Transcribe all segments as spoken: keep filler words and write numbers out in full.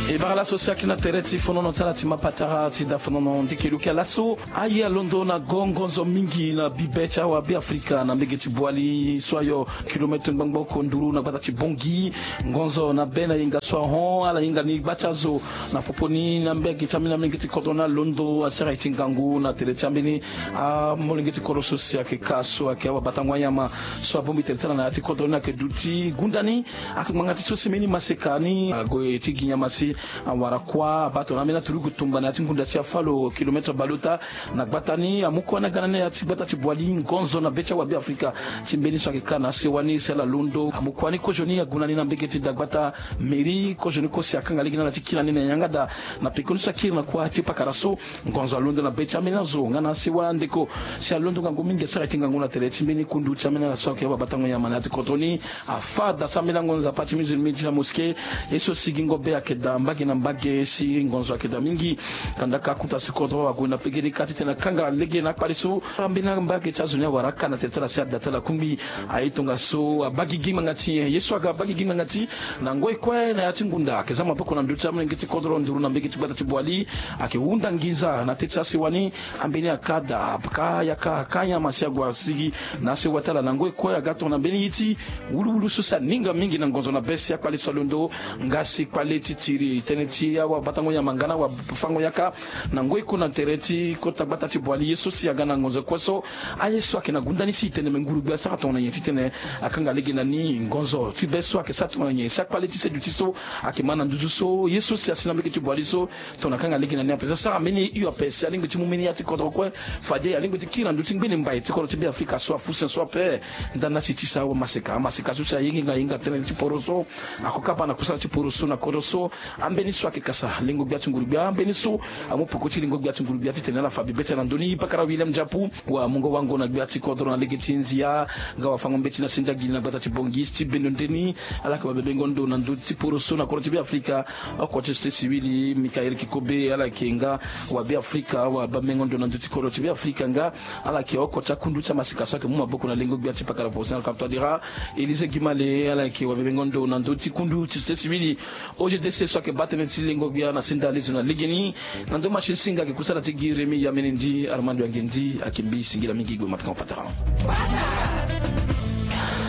E bara laso si ayeke na tere ti fonono ti ala ti mapatara ti da fonono ndiki lukia laso. Aye alondo na gongonzo mingi na bibe ti awabe afrika na mbege ti boili so ayo kilometre ngbangbo oko nduru na gbata ti bongi. Ngonzo na be na yenga so ahon ala hinga ni gba ti azo na popo ni na mbege ti ambeni amolenge ti kodro ni alondo asara ye ti ngangu na tere ti ambeni amolenge ti kodro so si ayeke ka so ayeke awabatango anyama so abongbi tere ti ala na ya ti kodro ni ayeke duti gunda ni. Ayeke ngbanga ti so si mbeni maseka ni ague ti gi nyama si awara kuâ abaa tongana ambeni aturugu tumba na ya ti ngunda ti afalo kilometre baleota. Na gbata ni amu kuâ ni aga na ni na ya ti gbata ti boili ngonzo na be ti awabe afrika ti mbeni so ayeke ka na asewa ni si ala londo amu kuâ ni kozoni ague na ni na mbege ti dagbata mairie kozoni kue si akanga lege na ala ti kiri na ni na yanga daa. Na pekoni so akiri na kuâ ti pakara so ngonzo alondo na be ti ambeni azo nga na asewa ndeko si alondo ngangu mingi asara ye ti ngangu na tere ti mbeni kundu ti ambeni ala so ayeke awabatango nyama na ya ti kodro ni. Afa daa so ambeni lango nzapa ti musulmi ti la mosquée. Ye so si gingo be ayeke daa mbage na mbage si ngonzo ayeke daa mingi. Kandaka akuta si kodro ague na pege ni kâ titene akanga lege na akpale so ambeni ambage ti azo ni awara aka na tere ti ala si ada ti ala kungbi. Aye tongaso abaa gigi ngbanga ti nyen? Ye so aga abaa gigi ngbanga ti na ngoi kue na ya ti ngunda ayeke za maboko na ndö ti amolenge ti kodro nduru na mbege ti gbata ti boili. Ayeke hunda nginza na tê ti asewa ni. Ambeni aka daa aka yaka aka nyama si ague asigi na asewa ti ala na ngoi kue aga tongana mbeni ye ti wuluwulu so si aninga mingi na ngonzo na be si akpale so alondo. Nga si kpale ti tiri tënë ti awabatango nyama nga na awafango yaka na ngoi kue na tere ti kota gbata ti boili ye so si aga na ngonzo kue so. Aye so ayeke na gunda ni si e tene me nguru gbia asara tongana nyen titene akanga lege na ni ngonzo ti be so ayeke sara tongana nyen si akpale ti seduti so ayeke ma na nduzu so ye so si asi na mbege ti boili so. Tongana akanga lege na ni ape so asara mbeni hio ape si alingbi ti mu mbeni ya ti kodro kue. Fade alingbi ti kiri na ndö ti ngbene mbai ti kodro ti be afrika so afusen so ape. Ndani asi ti sa awamaseka amaseka so si ayengenga yenga tënë ti poro so. Ako kapa na kusala ti poro so na kodro so. Ambeni so ayeke kasa lengo gbia ti nguru gbia ambeni so amu peko ti lengo gbia ti nguru gbia titene ala fa bibe ti ala na ndö ni pakara william japu. Wamungo wango na gbia ti kodro na lege ti nzia nga wafango mbeti na sendagi na gbata ti bongi ti bendo nde ni. Ala yeke wabebengo ndo na ndö ti poro so na kodro ti be afrika. Oko ti société civile mikael kikobe ala yeke nga wabe afrika wabebengo ndo na ndö ti kodro ti be afrika nga ala yeke oko ti akundu ti amaseka so ayeke mu maboko na lengo gbia ti pakara professionnel kaptadira. Élysée gimale ala yeke wabebengo ndo na ndö ti kundu ti société civile. O G D C so ayeke baa tënë ti lengo gbia na senda lezo na legeni. Na ndo machine singa ayeke kusala ti gi remi yamene ndi armando yange ndi ayeke mbi singila mingi gbe mapikango patara.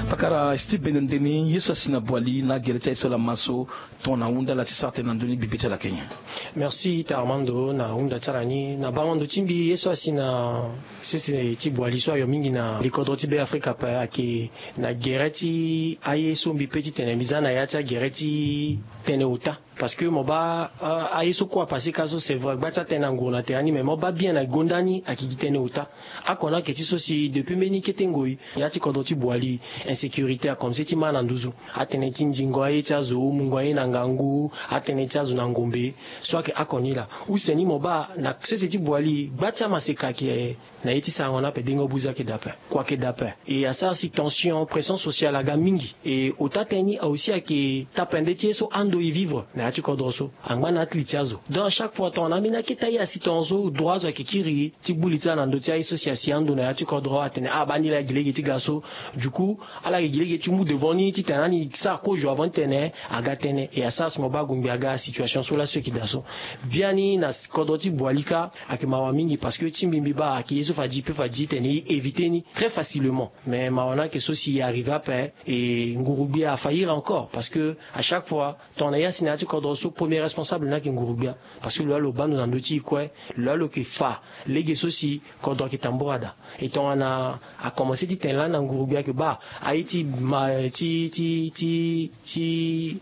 Pakara steve bendo ndeni ye so asi na boili na agere ti aye so lama so. Tongana ahunda ala ti sara tënë na ndö ni bibe ti ala kenya. Merci ta armando na hunda ti ala ni na bango ndo ti mbi ye so asi na sese ti boili so ayo mingi na likodro ti be afrika ape ayeke na gere ti aye so mbi pe titene mbi za na ya ti agere ti tënë ota. Parce que mo baa aye so kue apase ka so c'est vrai gba ti atënë anguru na tere ni mais mo baa bien na gonda ni ayeke gi tënë ota. Akona ayeke ti so si depuis mbeni kete ngoi ya ti kodro ti boili insécurité akomense ti ma na nduzu. Atënë ti ndingo aye ti azo mungo aye na ngangu atënë ti azo na ngombe. So ayeke akoni laa use ni mo baa na sese ti boili gba ti amaseka ayeke na ye ti sarango ni ape dengo buza ayeke daa ape. Kua ayeke daa ape. E asara si tension pression sociale aga mingi e ota tënë ni aussi ayeke tapende ti ye so ando e vivre na ya ti kodro so. Angba na atli ti azo donc à chaque fois tongana ambeni akete aye asi tongaso droit azo ayeke kiri ti gbu li ti ala na ndö ti aye so si asi ando na ya ti kodro atene abaa ni laa gi lege ti ga so. Du coup ala yeke gi lege ti mu devant ni titene ani sara kozo avant titene aga tënë e asara si mo baa gongbi aga situation so laso e yeke daa so. Biani na kodro ti boili kâ ayeke mawa mingi parce que ti mbi mbi baa ayeke ye so fadi pe fadi titene e éviter ni très facilement. Mais mawa ni ayeke so si e arriver ape e nguru gbia afaillir encore parce que à chaque fois tongana ye asi na ya ti kodro so premier responsable ni ayeke nguru gbia. Parce que lo laa lo baa ndo na ndö ti e kue lo laa lo yeke fa lege so si kodro ayeke tambura daa. E tongana akomanse ti tene lani na nguru gbia ayeke baa aye ti ma ti ti ti ti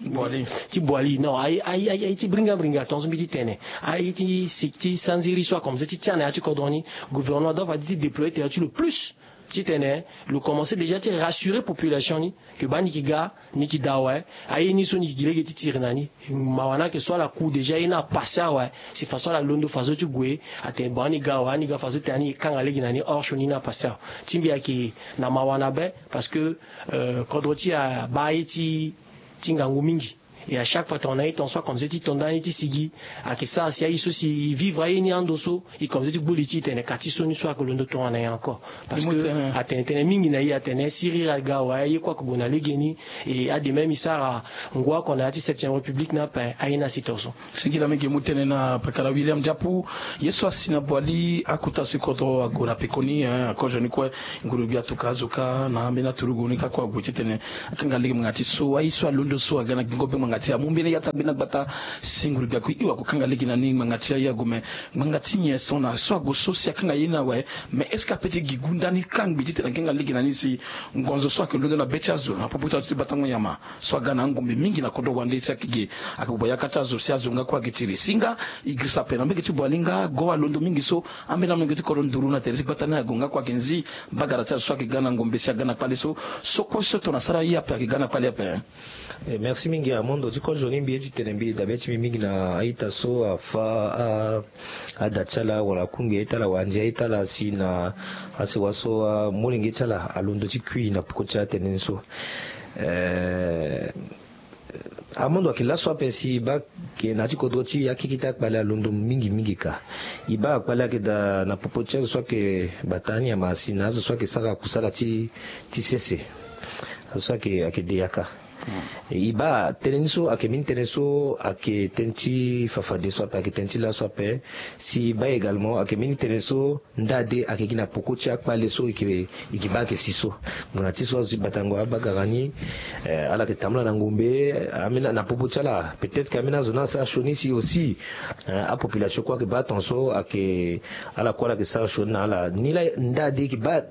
ti boili non aye aye aye ti bringa bringa tongaso mbi ti tene aye ti si ti sanziri so akomanse ti tia na ya ti kodro ni. Gouvernement doit fadi ti déployer tere ti lo plus titene lo komanse déjà ti rassurer population ni. Ke baa ni yeke ga ni yeke daa awe. Aye ni so ni yeke gi lege ti tiri na ni. Mawa ni ayeke so ala ku déjà ye ni apase awe. Si faso ala londo faso ti gue atene bon ani ga awe ani ga faso tene ani kanga lege na ni hors sioni ni apase awe. Ti mbi ayeke na mawa na be parce que kodro ti e abaa ye ti ti ngangu mingi. Et à chaque fois tongana e ton so akomanse ti ton ndani ti sigi, ayeke sara si aye so si e vivre aye ni ando so e komanse ti gbu li ti e tene ka ti so ni so ayeke londo tongana nyen encore. Parce que atene tënë mingi na e atene si riri aga awe aye kue ayeke gue na legeni. Et ade même e sara ngu oko na ya ti septième république ni ape aye ni asi ton so. Singila mingi mu tënë na pakara William Diapu. Ye so asi na Boali akota si kodro ague na pekoni, hein, akozoni kue. Ngurugbia atuka azo kâ na ambeni aturugu ni kâ kue ague titene akanga lege ngbanga ti so aye so alondo so aga na gingo be ngbanga ti amu mbeni ya ti agbeni agbata. Si ngurugbia akui iwa akokanga lege na ni ngbanga ti aye ague me ngbanga ti nyen so na so ague so si akanga ye ni awe? Mais est-ce que ape ti gi gu ndani kangbi titene akanga lege na ni si ngonzo so ayeke londo na be ti azo na popo ti azo ti batango nyama so aga na angombe mingi na kodro wande si ayeke ge ayeke gue yaka ti azo si azo nga kue ayeke tiri si nga e girisa ape na mbege ti Boali nga go alondo mingi so ambeni amolenge ti kodro nduru na tere ti gbata ni ague nga kue ayeke nzi bagara ti azo so ayeke ga na ngombe si aga na kpale so. So kue so tongana asara ye ape ayeke ga na kpale ape. Merci mingi amondo ti kozo ni mbi ye ti tene mbi dabe ti mbi mingi na a-ita so afa a ada ti ala wala akungbi a-ita ala wala andia a-ita ala si na asewa so amolenge ti ala alondo ti kui na peko ti atene ni so. Amondo ayeke laso ape si e baa ke na ya ti kodro ti e akeke ti akpale alondo mingi mingi ka. E baa akpale ayeke daa na popo ti azo so ayeke bata anyama si na azo so ayeke sara kusala ti ti sese. Azo so ayeke ayeke de yaka. E baa tënë ni so ayeke mbeni tënë so ayeke tënë ti fafade so ape ayeke tënë ti laso ape. Si e baa également ayeke mbeni tënë so nda de ayeke gi na peko ti akpale so e ke e ke baa ayeke si so. Ngbanga ti so azo ti batango abagara ni ala yeke tambula na ngombe. Ambeni na popo ti ala peut-être ke ambeni azo ni asara sioni si aussi apopulation kue ayeke baa ton so ayeke ala kue ala yeke sara sioni na ala ni laa nda de e ke baa.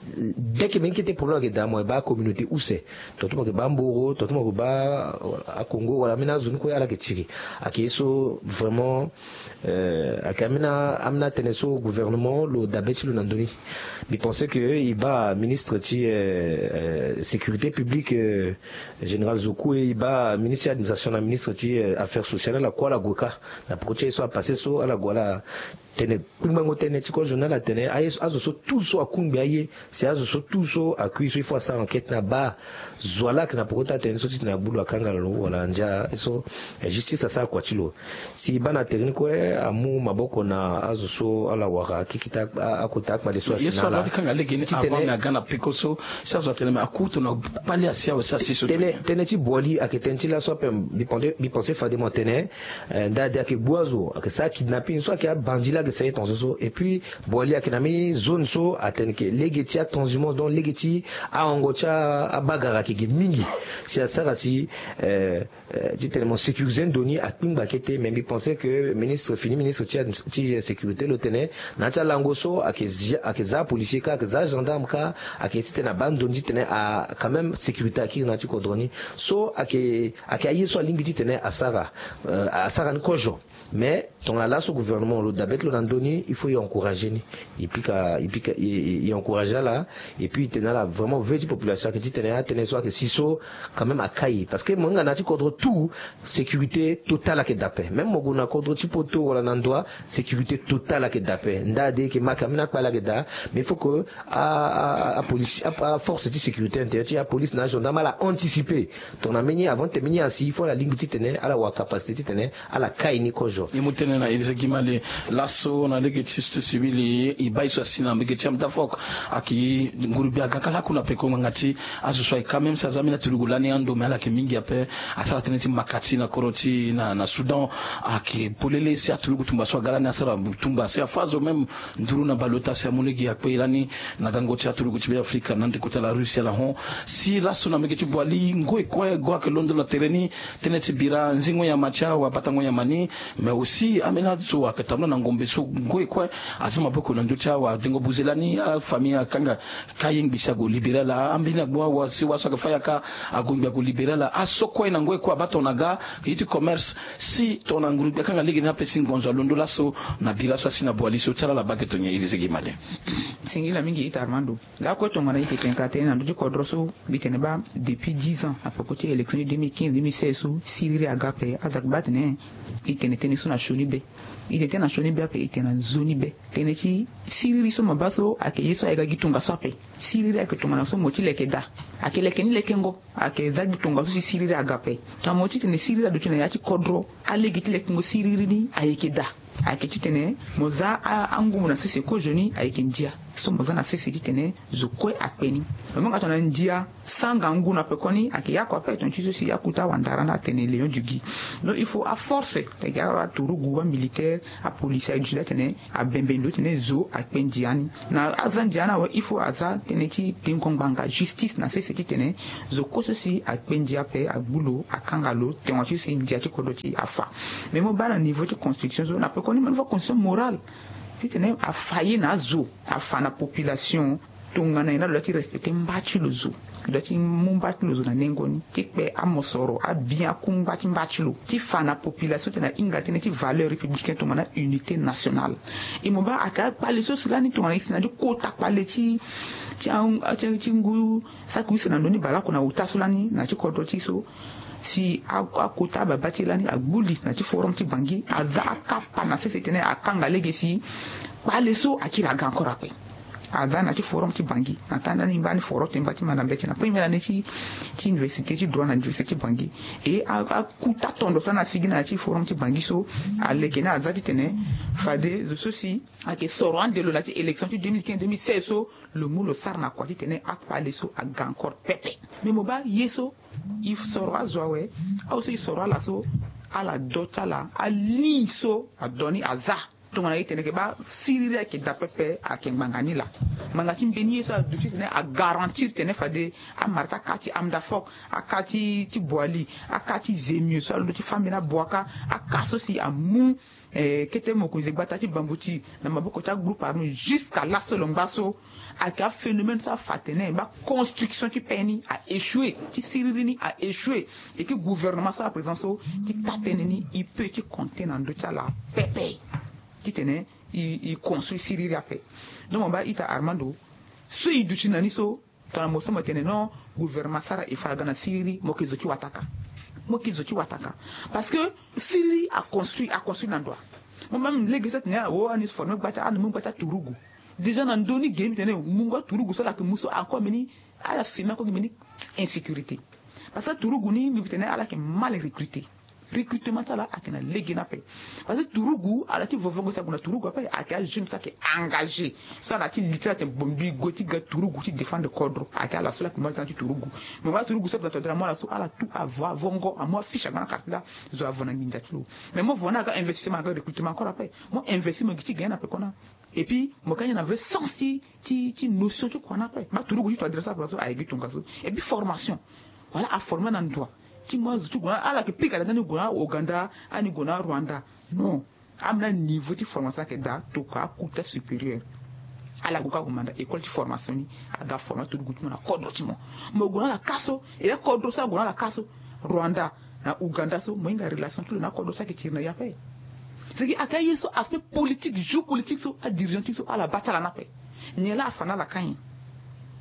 Dès ke mbeni kete problème ayeke daa mo yeke baa communauté use. Tongaso mo yeke baa mboro tongaso mo yeke baa akongo wala ambeni azo ni kue ala yeke tiri. Ayeke ye so vraiment ayeke ambeni atënë so gouvernement lo dabe ti lo na ndö ni. Mbi pense ke e baa ministre ti sécurité publique général Zoku e e baa ministre ti administration na ministre ti affaires sociales ala kue ala gue kâ na peko ti aye so apasse so ala gue ala tene kpingbango tënë ti kozo ni ala tene aye so azo so tout so akungbi aye si azo so tout so akui so il faut asara enquête ni abaa zo ala yeke na peko ti atene so titene agbu lo akanga lo wala andia so justice asara kua ti lo. Si e baa na tere ni kue amu maboko na azo so ala wara akeke ti akota akpale so asi na ala. Ye so adua ti kanga lege ni avant me aga na peko so si azo atene me aku tongana kpale asi awe si asi so. Tënë ti Boali ayeke tënë ti laso ape. Mbi pense fade mo tene nda ade ayeke gbu azo ayeke sara kidnapping so ayeke abandi laa ayeke sara ye tongaso so et puis Boali ayeke na mbeni zone so atene ke lege ti atranshumance donc lege ti ahongo ti abagara ayeke ge mingi. Si asara si ti tene mo sécuriser ndo ni akpingba kete mais mbi pense ke ministre fini ministre ti sécurité lo tene na ya ti alango so ayeke za apolicier kâ ayeke za agendarme kâ ayeke ye titene abaa ndo ni titene a quand même sécurité akiri na ya ti kodro ni. So ayeke ayeke aye so alingbi titene asara asara ni kozo. Mais tongana laso gouvernement lo dabe ti lo na ndö ni il faut e encourager ni. E pika e pika e encourager ala. Et puis e tene na ala vraiment veu ti population ayeke titene atënë so ayeke si so quand même akai parce que mo hinga na ya ti kodro tout sécurité totale ayeke daa ape même mo gue na kodro ti poto wala na ndoa sécurité totale ayeke daa ape. Nda ade e yeke ma ke ambeni akpale ayeke daa mais il faut que apolice aforce ti sécurité intérieure ti apolice na agendarme ala anticiper. Tongana mbeni avant ti tene mbeni asi il faut ala lingbi titene ala wara capacité titene ala kai ni kozo. E mu tënë na Élysée Gimale. Laso na lege ti société civile e baa ye so asi na mbege ti amdafok ayeke ngurugbia aga kâ laku na peko ngbanga ti azo so ayeke kâ même si aza ambeni aturugu lani ando me ala yeke mingi ape. Asara tënë ti maka ti na kodro ti na na Soudan. Ayeke polele si aturugu tumba so aga lani asara tumba si afa azo même nduru na baleota si amu lege akpe lani na gango ti aturugu ti Beafrika na ndeko ti ala Russie ala hon. Si laso na mbege ti Boali ngoi kue go ayeke londo na tere ni. Tënë ti bira nzingo nyama ti awabatango nyama ni. Mais aussi ambeni azo ayeke tambula na ngombe so ngoi kue aza maboko na ndö ti awadengo buze lani afamille akanga. Ka ye ngbi si ague libéré ala ambeni agbu awa sewa so ayeke fâ yaka. Ague ngbi ague libéré ala aso kue na ngoi kue abaa tongana aga ye ti commerce. Si tongana ngurugbia akanga lege ni ape si ngonzo alondo laso na bira so asi na Boali so ti ala ala baa ge tonye Élysée Gimale. Singila mingi ita Armando. Lakue tongana e yeke tene ka tënë na ndö ti kodro so mbi tene baa depuis dix ans na peko ti élection ti deux mille quinze deux mille seize so si riri aga ape azo ayeke baa atene e tene tënë so na sioni. be. E tene tena sioni be ape, e tene na nzoni be. Tënë ti siriri so mo baa so ayeke ye so ayeke ga gi tongaso ape. Siriri ayeke tongana so mo ti leke daa. Ayeke leke ni lekengo. Ayeke za gi tongaso si siriri aga ape. Tongana mo ti tene siriri aduti na ya ti kodro, alege ti lekengo siriri ni ayeke daa. Ayeke titene mo za angumbu na sese kozoni ayeke ndia. So mo za na sese titene zo kue akpe ni. Lo manga tongana ndia sanga ngu na pekoni ayeke yako ape tongana ti so si akuta wandara na atene léon du gui. Donc il faut aforce ayeke aturugu amilitaire, apolisi aye duti la tene abembe ndo tene zo akpe ndia ni. Na aza ndia ni awe il faut aza tënë ti tengo ngbanga justice na sese titene zo kue so si akpe ndia ape agbu lo akanga lo tongana ti so si ndia ti kodro ti afa. Mais mo baa na niveau ti construction so na pekoni mo niveau construction morale titene afa ye na azo, afa na population. Tongana nyen la lo doit ti respecter mba ti lo zo. Lo doit ti mu mba ti lo zo na nengo ni ti kpe amosoro abien akungba ti mba ti lo ti fa na population ti na hinga tënë ti valeur républicain tongana unité nationale. E mo baa ayeke akpale so si lani tongana e si na ti kota kpale ti ti ngu saki use na ndö ni baleoko na ota so lani na ti kodro ti so si akota ababa ti e lani agbu li na ti forum ti bangi aza akapa na sese tene akanga lege si kpale so akiri aga encore ape. Aza na ti forum ti bangi na taa ndani mbani foro temba ti manda mbeti na premier année ti ti université ti droit na université ti bangi. E akuta tondo so na asigi na ya ti forum ti bangi so aleke ni aza titene fade zo so si ayeke soro ande lo na ti élection ti deux mille quinze deux mille seize so lo mu lo sara na kua titene akpale so aga encore pepe. Mais mo baa ye so e soro azo awe. Awe so e soro ala so ala do ti ala aligne so ado ni aza. Tongana e tene yeke baa siriri ayeke daa pepe ayeke ngbanga ni laa. Ngbanga ti mbeni ye so aduti titene agarantir titene fade amara ti aka ti amda fok, aka ti boili, aka ti zemio so alondo ti fâ mbeni aboaka, aka so si amu kete mokonzi gbata ti bambuti na maboko ti agroupe armé jusqu'à laso lo ngba so. Ayeke aphénomène so afa atene baconstruction ti pe ni a échoué, ti siriri ni a échoué. Eke gouvernement so aprésident so ti taa tënë ni e peut ti compter na ndö ti ala pepe titene e construit siriri ape. Donc mo baa ita armando so e duti na ni so tongana mo so mo tene non gouvernement asara e fa aga na siriri mo yeke zo ti wataka. Mo yeke zo ti wataka parce que siriri aconstruit aconstruit na ndo. Mo même lege so atene awo ani forme gba ti ani mu gba ti aturugu. Déjà na ndö ni ge mbi tene mungo aturugu so ala yeke mu so encore mbeni ala semi encore gi mbeni insécurité. Parce que aturugu ni mbi tene ala yeke mal recruté. Recrutement ti ala ayeke na lege ni ape. Parce que turugu ala ti vovongo si ague na turugu ape ayeke ajeune so ayeke engagé. So ala ti li ti ala tene bon mbi gue ti ga turugu ti défendre kodro ayeke ala so la yeke mu ala ti turugu. Mais wa turugu so ague na todra mo ala so ala tout avo avongo amu afiche ague na quartier la. Zo avo na nginza ti lo. Mais mo vo na aga investissement aga recrutement encore ape. Mo investir mo gi ti gagner na pekona. Et puis mo ka nyen na vrai sens ti ti ti notion ti kua na ape ba turugu ti to adresse ape so aye gi tongaso. Et puis formation. Voilà aforme na ndua ti mo azo ti gue na ala yeke pika da ndani gue na Ouganda ani gue na Rwanda. Non. Amena niveau ti formation ayeke daa tokua akuta supérieur. Ala gue ka gue manda école ti formation ni. Aga forme aturugu ti mo na kodro ti mo. Mo gue na ala ka so e akodro so ague na ala ka so Rwanda na Ouganda so mo hinga relation ti lo na akodro so ayeke tiri na ya ape. Seke aka ye so aspect politique joue politique so adirigeant ti so ala baa ti ala ni ape. Nyen laa afa na ala ka nyen?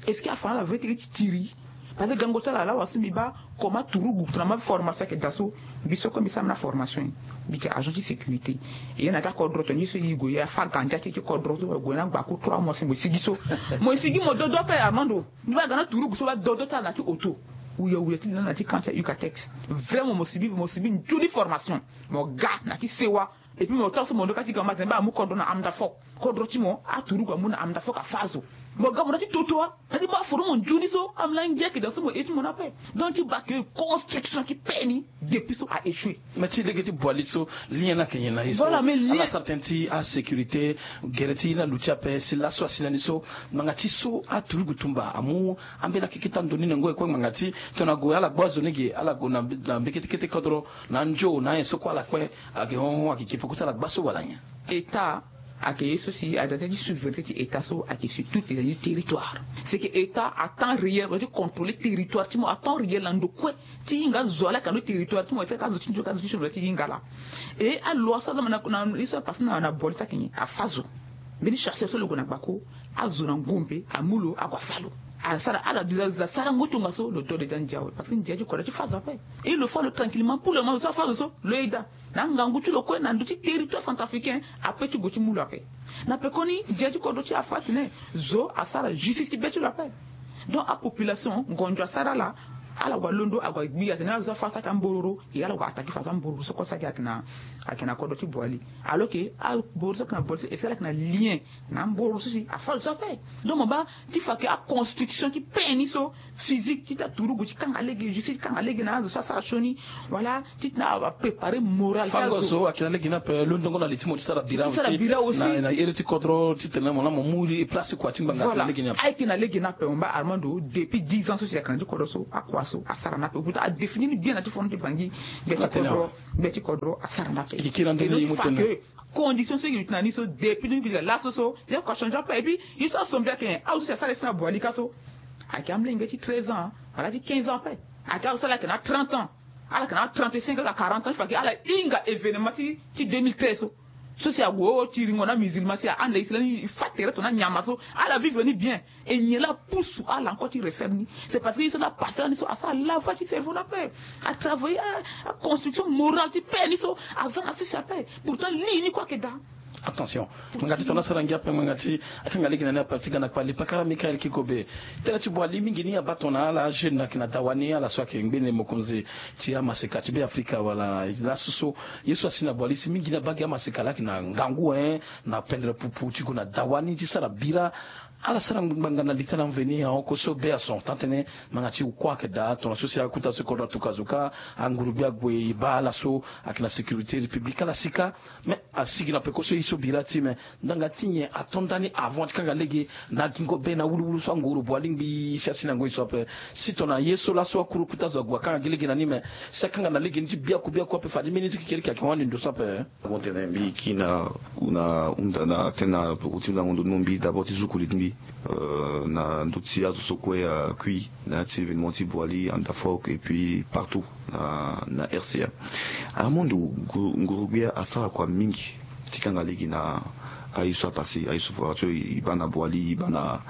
Est-ce que afa na ala vrai teke ti tiri? Parce que gango ti ala laa wa so mbi baa comment turugu tongana ma formation ayeke daa so. Mbi so kue mbi sara mbi na formation ye mbi yeke agent ti sécurité. E ye na ti akodro tongana ye so e gue e afa gandia ti e ti kodro so gue na gbaku trois mois si mo sigi so. Mo sigi mo dodo ape armando. Mbi baa ga na turugu so baa dodo ti ala na ti auto. Wuyawuya ti li na ala na ti camp ti a ucatex. Vraiment mo sibi mo sibi nzoni formation. Mo ga na ti sewa. Et puis mo taa so mo ndo ka ti ga mo atene baa amu kodro na amda fok. Kodro ti mo aturugu amu na amda fok afa azo. Mo ga mo na ti toto wa. Adi mo aforo mo nzoni so amla ngia yeke daa so mo e ti mo na ape. Donc ti baa ke construction ti pe ni. Depuis so a échoué. Mais ti lege ti boili so lien ni ayeke nyen na ye so? Ala sara tënë ti asécurité. Gere ti ye ni aluti ape si laso asi na ni so. Ngbanga ti so aturugu tumba amu ambeni akeke ti ando ni nengo e kue ngbanga ti tongana ague ala gbu azo ni ge ala gue na mbeke ti kete kodro na anzo na anyen so kue ala kpe. Ayeke hon hon ayeke ke peko ti ala gba so wala nyen? État ayeke ye so si aza tënë ti souveraineté ti état so ayeke sur tout les territoires. C'est que état à temps réel aza ti contrôler territoire ti mo à temps réel na ndo kue. Ti hinga azo ala yeke na ndo territoire ti mo ti ka azo ti nzo ka azo ti so ti hinga ala. E aloa so aza ma na ye so apasse na boili so ayeke nyen afa azo. Mbeni chasseur so lo gue na gbako azo na ngombe amu lo ague afa lo. Ala sara ala déjà déjà sarango ti tongaso lo do déjà ndia awe parce que ndia ti kodro ti fâ zo ape. Et lo fâ lo tranquillement pour le moment lo so afâ zo so lo yeda na angangu ti lo kue na ndö ti territoire centrafricain. Ape ti gue ti mu lo ape. Na pekoni ndia ti kodro ti afâ atene zo asara justice ti be ti lo ape. Donc apopulation ngonzo asara ala. Ala gue alondo ague agbi atene ala zo afâ so ayeke ambororo. E ala gue attaqué fâ so ambororo so kue so ayeke na ayeke na kodro ti boili. Alors que ambororo so ayeke na boili so e si ala ayeke na lien na ambororo so si afâ zo so ape. Donc mo baa ti fa ke aconstitution ti paix ni so physique ti ta turugu ti kanga lege justice ti kanga lege na azo so asara sioni. Voilà ti tena apréparer moral ti azo. Fango so ayeke na lege ni ape londongo na li ti mo ti sara bira aussi na iri ti kodro titene mo laa mo mu place kua ti ngbanga ayeke na lege ni ape. Ayeke na lege ni ape mo baa Armando depuis dix ans so si ayeke na ti kodro so akua so asara ni ape pourtant adéfinir ni bien na ti fondement ti bangi. Gbia ti kodro gbia ti kodro asara ni ape. Condition so e ke luti na ni so depuis deux mille quinze laso so ye kua changé ape et puis ye so asombi ayeke azo so si asara ye so na boili ka so ayeke amolenge ti treize ans wala ti quinze ans ape. Ayeke azo so ala yeke na trente ans ala yeke na trente-cinq ala quarante ans ti fa ke ala hinga événement ti ti deux mille treize so so si ague o tiringo na musulman si ahanda ye si lani e fâ tere tongana nyama so ala vivre ni bien. E nyen laa apusu ala encore ti refaire ni? C'est parce que ye so laa apasé lani so asara lavage ti cerveau ni ape. Atravaillé aconstruction morale ti paix ni so aza na sese ape. Pourtant li ni kue ayeke daa. Attention. Ngbanga ti tongana asara ngia ape ngbanga ti akanga lege na ni ape ti ga na kpali pakara Michael Kikobe. Tënë ti boili mingi ni abaa tongana ala ajeune ayeke na dawa ni ala so ayeke ngbene mokonzi ti amaseka ti Beafrika wala laso so ye so asi na boili si mingi ni abaa gi amaseka laa ayeke na ngangu hein na pendre pupu ti gue na dawa ni ti sara bira. Ala sara ngbanga na li ti ala mveni ahon kue so be ason tant tënë ngbanga ti kue ayeke daa tongana so si akuta so kodro atuka zo kâ anguru gbia ague e baa ala so ayeke na sécurité république ala si kâ. Mais asigi na peko so ye so bira ti me ndanga ti nyen ato ndani avant ti kanga lege na gingo be na wuluwulu so anguru boili ngbii si asi na ngoi so ape. Si tongana ye so laso akuru kuta zo ague akanga gi lege na ni me si akanga na lege ni ti biaku biaku ape fade mbeni ti kekereke ayeke hon ande ndo so ape. Avant tene mbi kiri na na hunda na tënë na peko ti hundango ndo ti mo mbi d'abord ti zukuli ti mbi na ndö ti azo so kue akui na ya ti événement ti boili Handafork et puis partout na na RCA. Armando, nguru gbia asara kua mingi ti kanga lege na aye so apasé aye so fora ti e baa na boili e baa na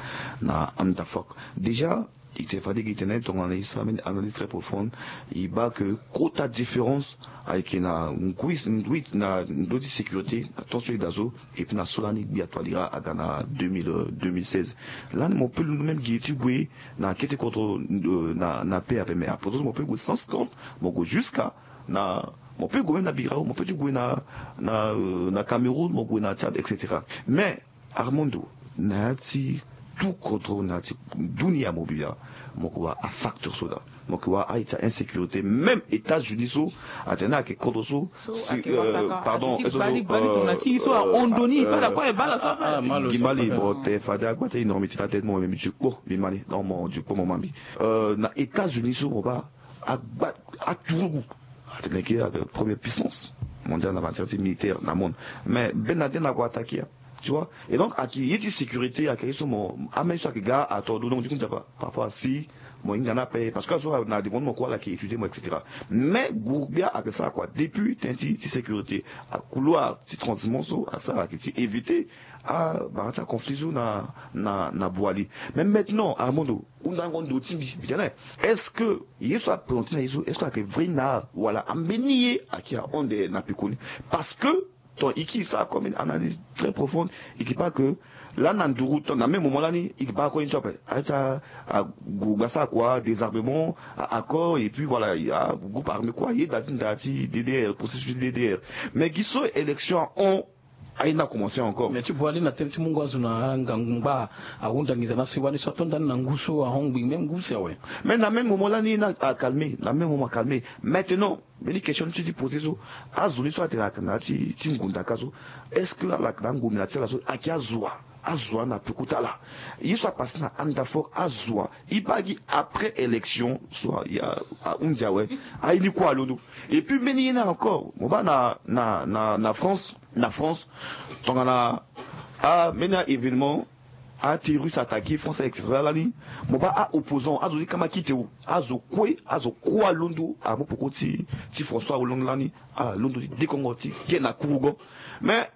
na Handafork. Déjà e tene fade gi tene tongana e sara mbeni analyse très profonde e baa ke kota différence ayeke na ngui ngui na ndö ti sécurité na temps so e daa so. Et puis na so lani gbia toilira aga na deux mille deux mille seize. Lani mo peut londo même gi ti gue na kete kodro na na paix ape mais apoto so mo peut gue sans compte mo gue jusqu'à na mo peut gue même na birao mo peut ti gue na na na Cameroun mo gue na Tchad et cetera. Mais Armando, na ya ti tout kodro na ya ti dunia mobia mo ke wara afacteur so daa. Mo ke wara aye ti a insécurité même États-Unis so atene ayeke kodro so pardon ti bali bali tongana ti ye so ahon ndo ni e baa lakue e baa laso ape. Gi mali mo te fade agba ti énormité la tête mo memi dikpo mbi mali donc mo dikpo mo ma mbi. Na États-Unis so mo baa agba aturugu atene ke ayeke première puissance mondiale na matière ti militaire na monde. Mais Ben Laden ague attaqué. Tu vois. Et donc ayeke ye ti sécurité ayeke ye so mo amai so ayeke ga ato do donc du coup nzapa parfois si mo hinga ni ape parce que azo na devant mo kue ala yeke étudier mo et cetera. Mais guru gbia ayeke sara kua depuis tënë ti ti sécurité. Couloir ti transiment so asara ayeke ti éviter abara ti aconflit so na na na boili. Mais maintenant Armando hundango ndo ti mbi mbi tene est-ce que ye so aprésenté na ye so est-ce que ayeke vrai na wala ambeni ye ayeke ahon ande na pekoni? Parce que ton iki sa comme une analyse très profonde iki pas que lani na nduru ton na même moment lani iki baa kue ni so ape aye ti aguru gbia asara kua désarmement accord et puis voilà groupe armé kue aye daa ti nda ti DDR processus ti DDR. Mais gi so élection ahon aye ni akomense encore mais ti boili na tere ti mungo azo na angangu ngba ahunda nginza na si wani so ato ndani na ngu so ahon ngbii même ngu si awe. Mais na même moment lani na acalmé na même moment acalmé maintenant. Mbeni question ti ti posé so azo ni so atene ayeke na ya ti ngunda ka so est-ce que ala yeke na angomina ti ala so ayeke azo wa? Azo wa na peko ti ala ye so apasé na Handafork azo wa? E baa gi après élection so ahunzi awe aye ni kue alondo. Et puis mbeni ye ni encore mo baa na na na France na France tongana ambeni a-événement aterroriste attaqué France et cetera lani mo baa a-opposant azo ti kama kite o azo kue azo kue alondo amopoko ti ti François Hollande lani ala londo ti dekongo ti ge na kurugo. Mais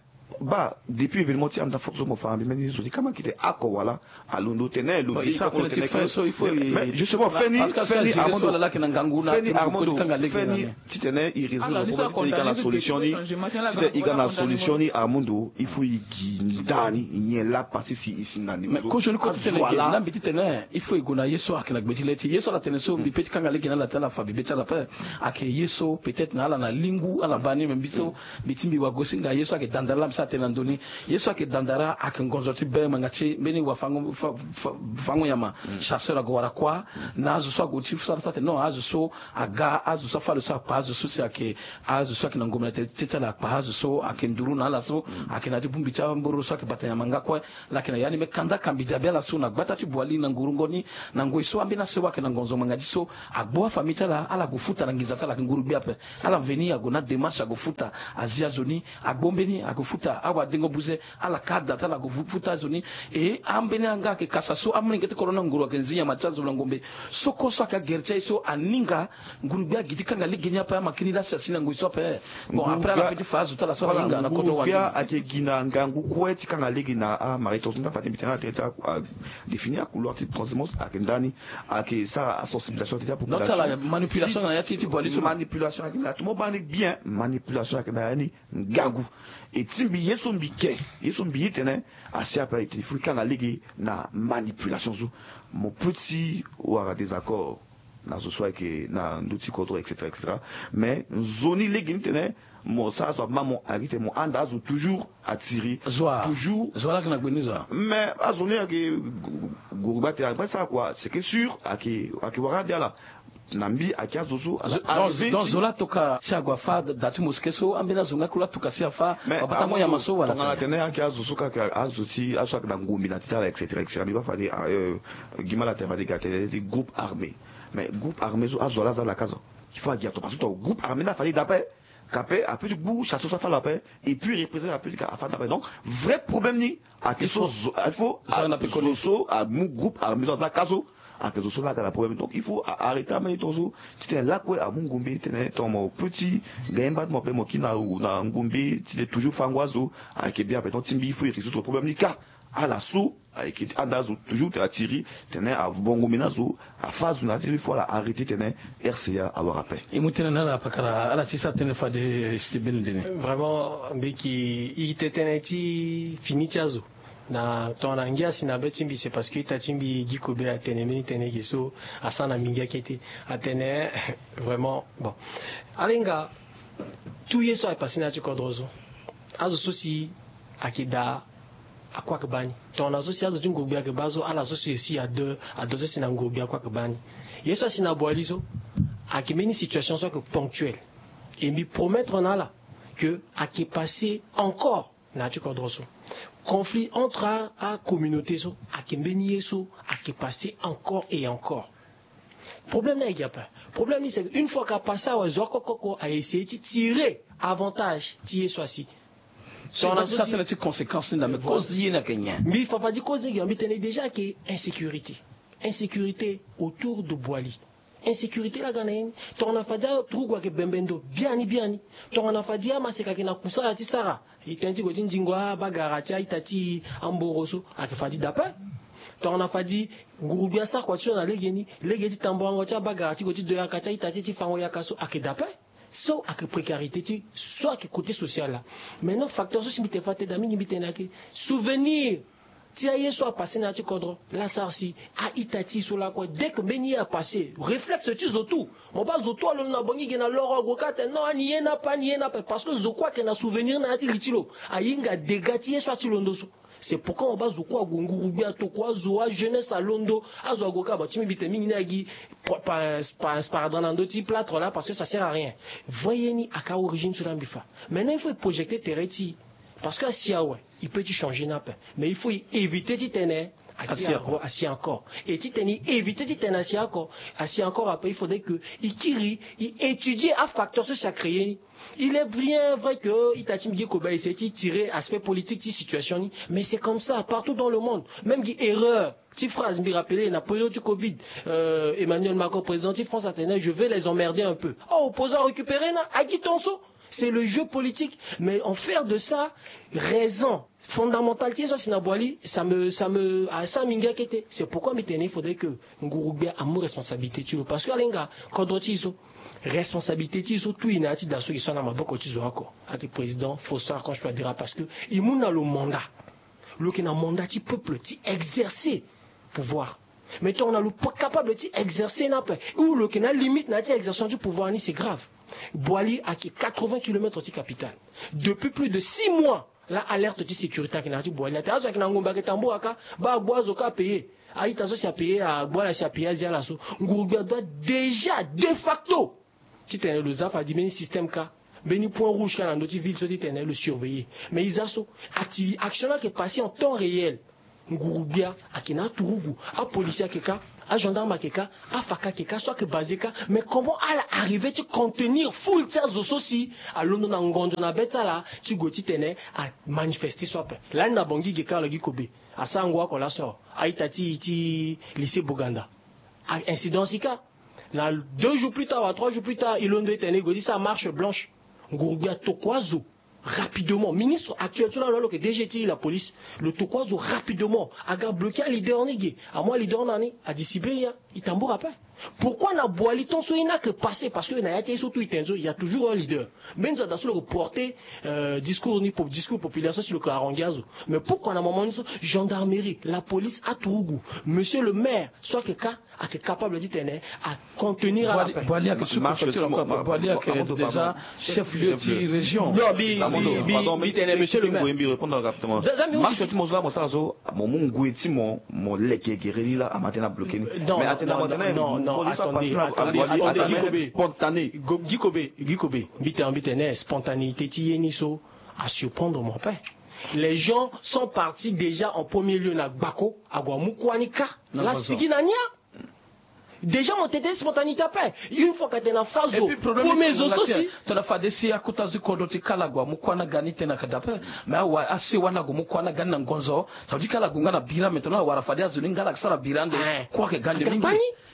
Baa, depuis événement ti anda fok so mo fa na mbi mbeni zo ti kama kite ako wala alondo tene lo. Bon, di isa kama lo tene tene ti fin ke so il faut mais, mais i- justement, feni, Pascal so feni azere so Armando, ala laki na ngangu na feni turu Armando, koti kanga lege feni na ni. Titene i résoudre. Ala, problème, titene i ga na solution ni, titene i ga na solution ni Armando, il faut i gi ndani i nyen la passé si i si na ni mais ko so ni ko titene ge na mbi titene il faut i gue na ye so ayeke na gbe ti le ti ye so ala tene so mbi pe ti kanga lege na ala ti ala fa bibe ti ala ape. Ayeke ye so peut-être na ala na lingu ala baa ni me mbi so mbi ti mbi wagosinga ye so ayeke dandara la mbi sara tene na ndoni. Ye so ayeke dandara ayeke ngonzo ti be ngbanga ti mbeni wafango fa- fa- fango nyama. Chasseur ague wara kuâ na azo so ague ti sara so atene non azo so aga azo so afa lo so akpa azo so si ayeke azo so ayeke na ngombe na tete ti ala akpa azo so ayeke nduru na ala so ayeke na ya ti bongbi ti amboro so ayeke bata nyama nga kue. Lake na ya ni me kanda kambi dabe ala so na gbata ti boili na ngurungo ni na ngoi so ambeni asewa ayeke na ngonzo ngbanga ti so agbu afamille ti ala ala gue futa na nginza ti ala ayeke nguru gbe ape. Ala mveni ague na démarche ague futa azi azo ni agbo mbeni ague futa awadengo buze ala ka ada ti ala ague futa azo ni. E ambeni anga ayeke kasa so amolenge ti kodro na nguru ayeke nzi nyama ti azo na ngombe. Soko so ayeke agere ti aye so aninga nguru gbe agi ti kanga lege ni ape amakini lasi asi na ngoi so ape. Bon après ala pe ti fa azo ti ala so ala hinga na koto wande. Ayeke gi na ngangu kue ti kanga lege na amari tonso nda fade mbi tene ala tene ti a- a- définir acouloir ti transhumance ayeke ndani. Ayeke sara asensibilisation ti apopulation donc ti ala manipulation na ya ti ti boili so manipulation ayeke na ya ti mo baa ni bien manipulation ayeke na ya ni. Ngangu e ti mbi ye so mbi ke ye so mbi ye tene asi ape ayeke il faut kanga lege na manipulation so. Mo peut ti wara désaccord na zo so ayeke na ndö ti kodro etc etc. Mais nzoni lege ni tene mo sara so ama mo ayeke tene mo anda azo toujours atiri zo a toujours zo a lake na gbe ni zo a mais azo ni ayeke guru gba tene akpe sara kua c'est que sûr ayeke ayeke wara ade ala na mbi ayeke azo so ala arrivé donc ti zo la toka si ague afa da ti mosquée so ambeni azo nga kue la toka si afa mais abatango nyama so wala tongana tene ayeke azo so kaka azo ti azo so ayeke na ngombe na ti ti ala etc etc mbi baa fade gi ma la tene fade ga tene ti groupe armé. Mais groupe armé so azo ala aza ala ka zo il faut agi ato parce que to groupe armé ni afali dape kape ape ti gbu chasse so afali ape et puis représente ape ti ka afali dape donc vrai problème ni ayeke so il faut zo so amu groupe armé so aza ka so ayeke zo so la aga na problème donc il faut arrêter ambeni tongaso titene lakue amu ngombe titene tongana mo petit gaye mba ti mo ape mo kiri na ngombe titene toujours fango azo ayeke bien ape donc ti mbi il faut e résoudre problème ni ka ala so ayeke ti anda azo toujours tene atiri tene avongo mbi na azo afa azo na ya ti il faut ala arrêter tene rca awara ape. E mu tënë na ala pakara ala ti sara tënë fade si ti beni ndeni. Vraiment mbi yeke iri tënë ti fini ti azo na tongana ngia si na be ti mbi c'est parce que ita ti mbi gi kobe atene mbeni tënë ge so asara na mbi ngia kete atene vraiment bon ala hinga tout ye so aye passé na ya ti kodro so azo so si ayeke daa akue ayeke baa ni tongana so si azo ti ngurugbi ayeke baa so ala so si aussi ado ado so si na ngurugbi akue ayeke baa ni ye so asi na boili so ayeke mbeni situation so ayeke ponctuelle et mbi promettre na ala que ayeke passé encore na ya ti kodro so conflit entre acommunauté so ayeke mbeni ye so ayeke passé encore et encore. Problème ni ayeke gi ape. Problème ni c'est une fois ka passé awe zo akokoko a essayer ti tirer avantage ti ye so asi. So na so ti tene ti conséquence ni na me cause ti ye ni ayeke nyen? Mbi fa fadi cause ni gi mbi tene déjà ayeke insécurité. Insécurité autour de boili. Insécurité la ga na ye ni tongana fadi aturugu ayeke bembe ndo biani biani tongana fadi amaseka ayeke na kusala ti sara. E tënë ti gue ti nzingo abagara ti a-ita ti amboro so ayeke fadi dape. Tongana fadi ngurugbi asara kua ti so na legeni lege ti tambuango ti abagara ti gue ti do yaka ti a-ita ti e ti fango yaka so ayeke dape. So ayeke précarité ti so ayeke côté social la. Maintenant facteur so si mbi tene fa tënë da mingi mbi tene ayeke souvenir ti aye so apassé na ya ti kodro la sara si a-ita ti e so lakue dès que mbeni ye apassé réflexe ti zo tout. Mo baa zo tout alondo na bongi ge na loro ague kâ atene non ani ye ni ape ani ye ni ape parce que zo kue ayeke na souvenir na ya ti li ti lo. Ahinga dégât ti ye so ati londo so. C'est pourquoi mo baa zo kue ague ngurugbi atokua azo ajeunesse alondo. Azo ague kâ bon ti mbi mbi tene mingi ni agi. Sparadrap na ndö ti plâtre la parce que ça sert à rien. Vrai ye ni aka origine so la mbi fa. Maintenant il faut projecter tere ti e parce que asi awe. I peut ti changer ni ape mais il faut i éviter ti tene asi encore. Et ti tene i éviter ti tene asi encore asi encore ape il faudrait que i kiri i étudier afacteur so si acréer ni. Il est bien vrai que ita ti mbi gi kobe a essayer ti tirer aspect politique ti situation ni mais c'est comme ça partout dans le monde. Même gi erreur ti phrase mbi rappeler na période ti covid. Emmanuel Macron président ti France atene je vais les emmerder un peu. Aopposant arécupérer na agi tonso. C'est le jeu politique. Mais en faire de ça raison fondamentale ti ye so asi na Boali, ça me, ça me, ah, ça m'inquiète. C'est pourquoi mi tene il faudrait que Nguru Gbia amu responsabilité ti lo. Parce que alenga kodro ti so, responsabilité ti so tout i na ya ti da so i so na maboko ti zo oko. Ake président Faustin Archange Touadéra, parce que i mu na lo mandat. Lo yeke na mandat ti peuple ti exercer pouvoir. Mais tongana lo pas capable ti exercer ni ape, ou lo yeke na limite na ya ti exercer ti pouvoir ni, c'est grave. Boali ayeke quatre-vingts kilomètres ti capitale. Depuis plus de six mois, la alerte ti sécurité ayeke na ya ti Boali. Atene azo ayeke na ngombe ayeke tambula kâ, baa agbu azo kâ apayer. A-ita so si apayer, agbu ala si apayer azia ala so. Nguru Gbia adoit déjà de facto titene lo za fade mbeni système kâ, mbeni point rouge kâ na ndö ti ville so titene lo surveiller. Mais i za so, acti-, action ni ayeke passer en temps réel. Nguru Gbia ayeke na aturugu, apolisi ayeke kâ, agendarme ayeke kâ, afaka ayeke kâ, so ayeke basé kâ. Mais comment ala arriver ti contenir foule ti azo so si alondo na ngonzo na be ti ala ti gue titene amanifester so ape? Lani na Bangui ge kâ, lo gi kobe, asara ngu oko laso, a-ita ti, ti lycée Boganda. A, incident si kâ. Na deux jours plus tard wala trois jours plus tard, i londo i tene i gue ti sara marche blanche. Nguru Gbia atokua azo rapidement. Ministre actuel so laa lo, lo yeke D G ti la police, lo tokua azo rapidement. Aga bloquer aleader ni ge. Amu aleader na ni, adisibere ya, i tambula ape. Pourquoi na Boali tant so ye ni ayeke passer? Parce que na ya ti aye so tout i tene so, il y a toujours un leader. Même so ada so lo yeke porter, euh, discours ni, po-, discours populaire so si lo yeke haranguer azo. Mais pourquoi na moment ni so, gendarmerie, la police, aturugu, monsieur le maire so ayeke kâ, ayeke capable titene acontenir ala ape. Boali ayeke sous-préfecture encore. Boali ayeke déjà chef-lieu ti région. Non, mi, mi, mi tene monsieur le maire. Marche ti mo so laa mo sara so, mo mu ngoi ti mo, mo leke gere ni laa, ama tene abloquer ni. Mais atene, non, non, attendez, attendez, attendez, attendez, spontané. Gi kobe, gi kobe, mbi tene, mbi tene spontanéité ti ye ni so asurprendre mo ape. Les gens sont partis déjà en premier lieu na Gbako, ague amu kuâ ni kâ. Laa asigi na ni. Déjà mo tene spontanéité ape. Une fois ka tene na fa zo, premier zo so si tongana fade si akota zo ti kodro ti kala ague amu kuâ na ga ni tene ayeke da ape. Mais awa, asi wani ague amu kuâ na ga ni na ngonzo, ça veut dire kala ague nga na bira. Maintenant awara fade azo ni nga laa ayeke sara bira ande. Kuâ ayeke ga ande mingi.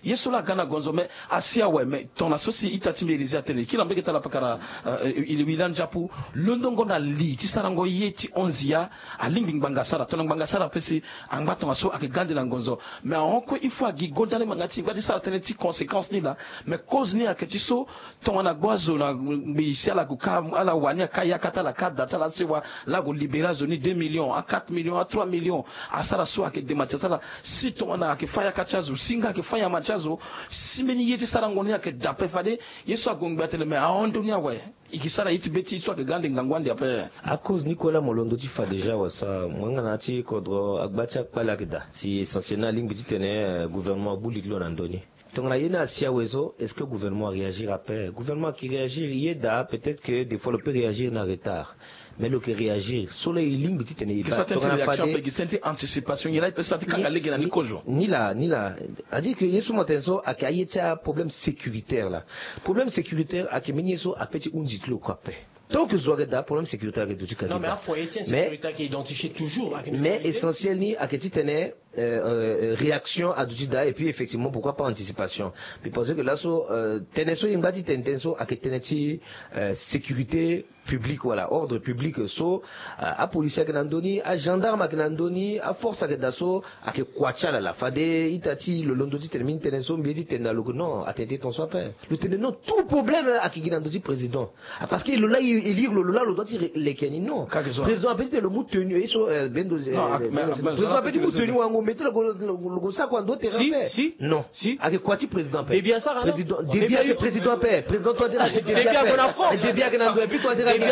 Ye so laa aga na gonzo, mais asi awe, mais tongana so si ita ti mbi Élisée atene, kiri na mbege ti ala pakara, euh, il, il a njapu, londongo na li ti sarango ye ti honzi ya, alingbi ngbanga asara. Tongana ngbanga asara ape si angba tongaso ayeke ga ande na ngonzo. Mais ahon kue il faut agi gonda ni ngbanga ti, ngbanga ti sara tënë ti conséquence ni laa. Mais cause ni ayeke ti so, tongana agbu azo na ngbii si ala gue kâ, ala wani akâ yakâ ti ala, akâ da ti ala, asewa, laa ague libérer azo ni deux millions, a quatre millions, a trois millions, asara so ayeke dema ti asara. Si tongana ayeke fâ yakâ ti azo, si nga ayeke fâ nyama ti azo, si mbeni ye ti sarango ni ayeke da ape fade ye so ague ngbii atene, mais ahon ndö ni awe. I ke sara ye ti be ti so ayeke ga ande ngangu ande ape. Acause ni kue laa mo londo ti fa déjà wasa, mo yanga na ya ti kodro, agba ti akpale ayeke daa. Si essentiel ni alingbi titene, eh, gouvernement abu li ti lo na ndö ni. Tongana ye ni asi awe so, est-ce que gouvernement aréagir ape? Gouvernement ayeke réagir, ye daa, peut-être que des fois lo peut réagir na retard. Mais lo yeke réagir so laa e lingbi titene e baa tongana fade. Anticipation, ye laa e peut sara ti kanga lege na ni kozo. Ni laa, ni laa. C'est-à-dire que ye so mo tene so ayeke aye ti aproblème sécuritaire laa. Problème sécuritaire ayeke mbeni ye so apeut ti hunzi ti lo kue ape. Tant que zo ayeke daa, problème sécuritaire ayeke duti ka. Non, mais afoyer ti insécurité ayeke identifié toujours. Mais essentiel ni ayeke titene, euh, euh, réaction aduti daa, et puis effectivement, pourquoi pas anticipation. Mbi pense que laso, euh, tënë so e ngba ti tene tënë so ayeke tënë ti, euh, sécurité publique, voilà, ordre public. So, euh, apolisi ayeke na ndö ni, agendarme ayeke na ndö ni, aforce ayeke daa so, ayeke kua ti ala laa. Fade ita ti lo londo titene mbeni tënë so mbi ye titene na lo ke non, atene ti tongaso ape. Lo tene non, tout problème ayeke gi na ndö ti président. Ah, parce que lo laa e lire lo, lo laa lo doit ti leke ni, non. Président apeut ti tene lo mu tenue, ye so, euh, bendo, président apeut ti mu tenue wango, mais ti lo go, lo go sara kua na ndö ti terrain ape. Non. Ayeke kua ti président ape. Président, Déby ayeke président ape. Président Touadéra ayeke Déby ape. Déby ayeke na ndö, et puis Touadéra ayeke na ndö.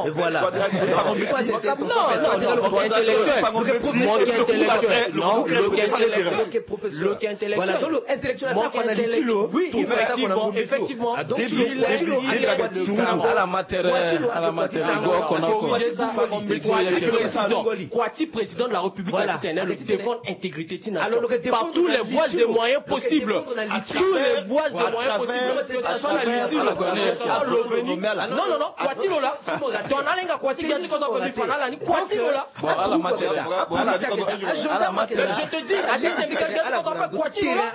Et voilà. Non, non, non, intellectuel. Lo ke intellectuel. Non, lo ke intellectuel. Lo ke intellectuel. Voilà, donc lo intellectuel asara kua na li ti lo. Oui, effectivement, effectivement. Ah, donc ti lo, ti lo, ala matière, ala matière. Kua ti président de la République, voilà, ayeke tene lo devant Intégrité ti nation par tous les voies et moyens possibles. Tous les voies et moyens possibles, que ce soit na litilo, que ce soit revenu. Non, non, non, kua ti lo la. Ton alenga kua ti gbia ti kodro ape, mbi fa na ala ni kua ti lo la. Bon, ala ma tere. Ala ti kodro. Je te dis, alinga ti gbia ti kodro ape, kua ti lo la.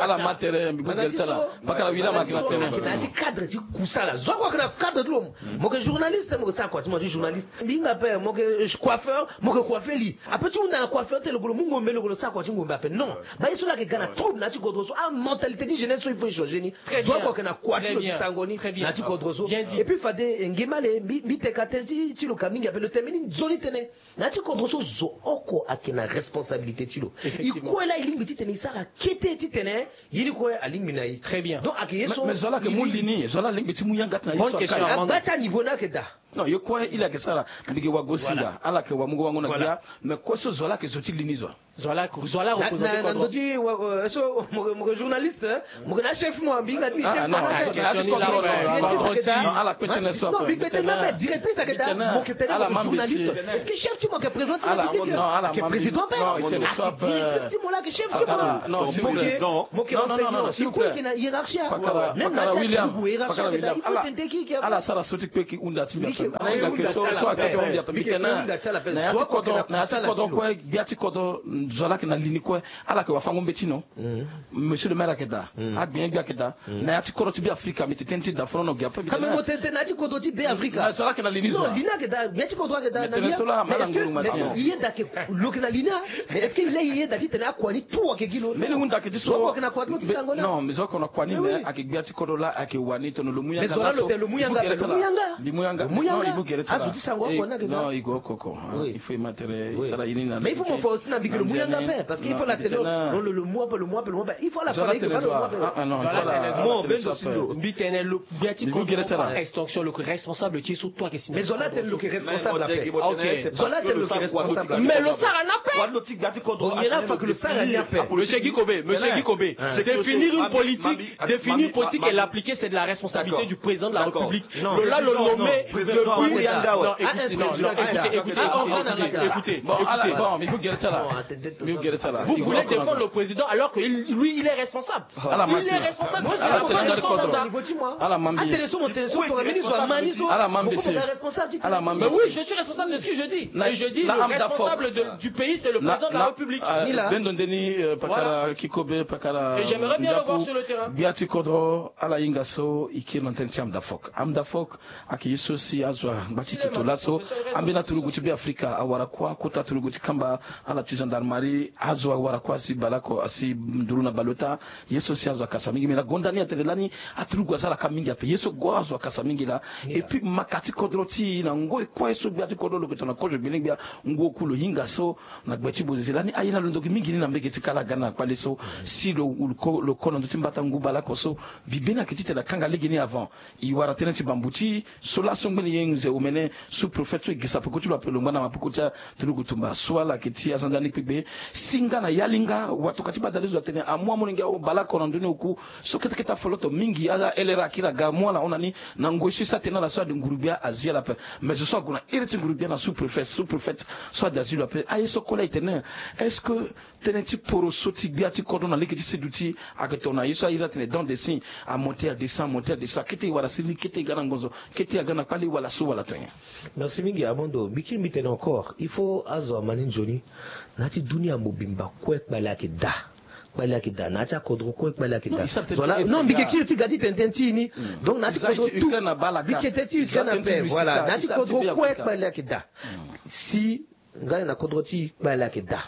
Ala ma tere, mbi gere ti ala. Pakara wila ma tere. Na ti cadre ti kusala zo ako ake na cadre ti lo. Mo ke journaliste, mo ke sara kua ti mo ti journaliste. Mbi hinga ape, mo ke coiffeur, mo ke coiffer li. Ape ti hunda na coiffeur ti tene lo ke lo mu ngombe, lo ke lo sara kua ti ngombe ape. Non. Baye so la ake ga na trouble na ya ti kodro so. Ah, mentalité ti jeunesse so il faut changer ni. Zo ako ake na kua ti lo ti sango ni na ya ti kodro so. Et puis fade, eh, nge male, mbi mbi teka tënë ti ti lo ka mingi ape, lo tene mbeni nzoni tënë. Na ya ti kodro so zo oko ake na responsabilité ti lo. E kue la e lingbi ti tene e sara kete ti tene ye ni kue alingbi na e. Très bien. Donc ake ye so. Mais zo la ake mu li ni, zo la alingbi ti mu yanga ti na ye so. Bonne question, Armando. Agba ti aniveau ni ake daa. Non, ye kue il ake sara. Mbi ke wago singa, ala ke wa mu go wango na gbia. Mais kue so zo la ake zo ti li ni zo. Zo la, zo la représenter na ndo ti wa, euh, so mo ke journaliste, hein. Mo ke na chef mo, mbi hinga ti mbi chef. Ah non, ala kpe tënë so ape. Directrice ake daa, mo ke tene mo ke journaliste. Est-ce que chef ti mo ake président ti mo? Ala ke président ape. Ake directrice ti mo la ake chef ti mo. Mo ke enseignant. Iko ake na hiérarchie ape. Même na ti ake hiérarchie ake daa, il faut tene ki ake. Ala sara so ti kpe ki hunda ti mbi ape. Ala hinga ke so so ake hunda ti mbi ape. Na ya ti kodro, na ya ti kodro kue, gbia ti kodro, zo la ake na li ni kue. Ala ke wafango mbeti no. Monsieur le maire ake daa. Agbenye gbia ake daa. Na ya ti kodro ti Be Afrika, mbi tene tënë ti daa fo no gi ape. Ka me mo tene tënë na ya ti kodro ti Be Afrika. Na zo la ake na li ni zo. Non, li ni ake daa, gbia ti kodro ake daa na li ni. Mais est-ce que i yeda ke lo ke na li ni? Mais est-ce que i le i yeda ti tene akua ni tout ake gi lo? Mbeni hunda ake ti so. Zo ake na kua ti lo ti sango na. Non, mais zo ake na kua ni, mais ake gbia ti kodro la ake wani tongana lo mu yanga. Mais zo la lo tene lo mu yanga, lo mu yanga. Mbi mu yanga. Lo mu yanga. Non, i mu gere ti ala. Azo ti sango akua ni ake daa. Non, i go oko oko. Il faut i ma tere, i sara ye ni na. Mais il faut mo fa aussi na mbi ke lo mu yanga ape, parce que il faut la tene lo, lo mu ape, lo mu ape, lo mu ape. Il faut la tene lo mu ape. Ah non, il faut la tene lo. Mo bendo sindo. Mbi tene lo gbia ti kodro, extorsion, lo ke responsable ti ye so tout ake si. Mais zo la tene lo ke responsable ape. Ok. Zo la tene lo ke responsable ape. Mais lo sara ni ape. Bon, ye na fa ke lo sara ni ape. Monsieur Guy Kobe, monsieur Guy Kobe, définir une politique, définir une politique et l'appliquer, c'est de la responsabilité du président de la République. Lo la lo nommé depuis. Non, écoutez, écoutez, écoutez. Bon, ala, bon, mbi ke gere ti ala. Mbi ke gere ti ala. Vous voulez défendre le président alors que il, lui, il est responsable. Il est responsable. Ala ma mbi. Ala ma mbi. Ala ma mbi. Mais oui, je suis responsable de ce que je dis. Et je dis, le responsable de, du pays, c'est le président de la République. Bendo ndeni, euh, pakara Kikobe, pakara. Et j'aimerais bien le voir sur le terrain. Gbia ti kodro, ala hinga so i kiri na tënë ti Amdafok. Amdafok ake ye so si azo angba ti toto laso. Ambeni aturugu ti Be Afrika awara kuâ, kota aturugu ti kamba, ala ti gendarmerie, azo awara kuâ asi baleoko, asi nduru na baleota. Ye so si azo akasa mingi, me na gonda ni atene lani aturugu asara ka mingi ape. Ye so go azo akasa mingi laa. Et puis maka ti kodro ti e na ngoi kue so gbia ti kodro lo yeke tongana kozo gbele gbia ngu oku lo hinga so na gbe ti Bozizila ni aye na lo ndoki mingi ni na mbege ti kala aga na kpale so. Si lo, lo ko, lo ko na ndö ti mbata ngu baleoko so, mbi beni ayeke titene akanga lege ni avant. E wara tënë ti bambuti so laso ngbene ye nze omene sous-préfet so e gisa peko ti lo ape lo ngba na mapeko ti aturugu tumba so ala yeke ti aza ndani kpekpe. Si nga na ya li nga watokua ti badalezo atene amu amolenge aho baleoko na ndö ni oku. So kete kete afoloto mingi, ala L R A akiri aga amu ala hon na ni. Na ngoi so e sara tënë na ala so ade nguru-gbia azi ala ape. Mais zo so ague na iri ti nguru-gbia na sous-préfet, sous-préfet so ade azi lo ape. Aye so kue laa e tene, est-ce que tënë ti poro so ti gbia ti kodro na lege ti seduti ayeke tongana ye so a iri atene dans des signes, amonter, adescend, amonter, adescend, kete e wara siriri, kete e ga na ngonzo, kete e aga na kpale wala so wala tonga? Merci mingi Armando. Mbi kiri mbi tene encore, il faut azo ama ni nzoni na ya ti dunia mobimba kue kpale ayeke daa. Kpale ayeke daa na ya ti akodro kue, kpale ayeke daa. Non, mbi ke kiri ti ga ti tene tënë ti e ni. Donc na ya ti kodro tout, mbi ke tënë ti Ukraine ape, voilà, na ya ti kodro kue kpale ayeke daa. Si nga na kodro ti e kpale ayeke daa.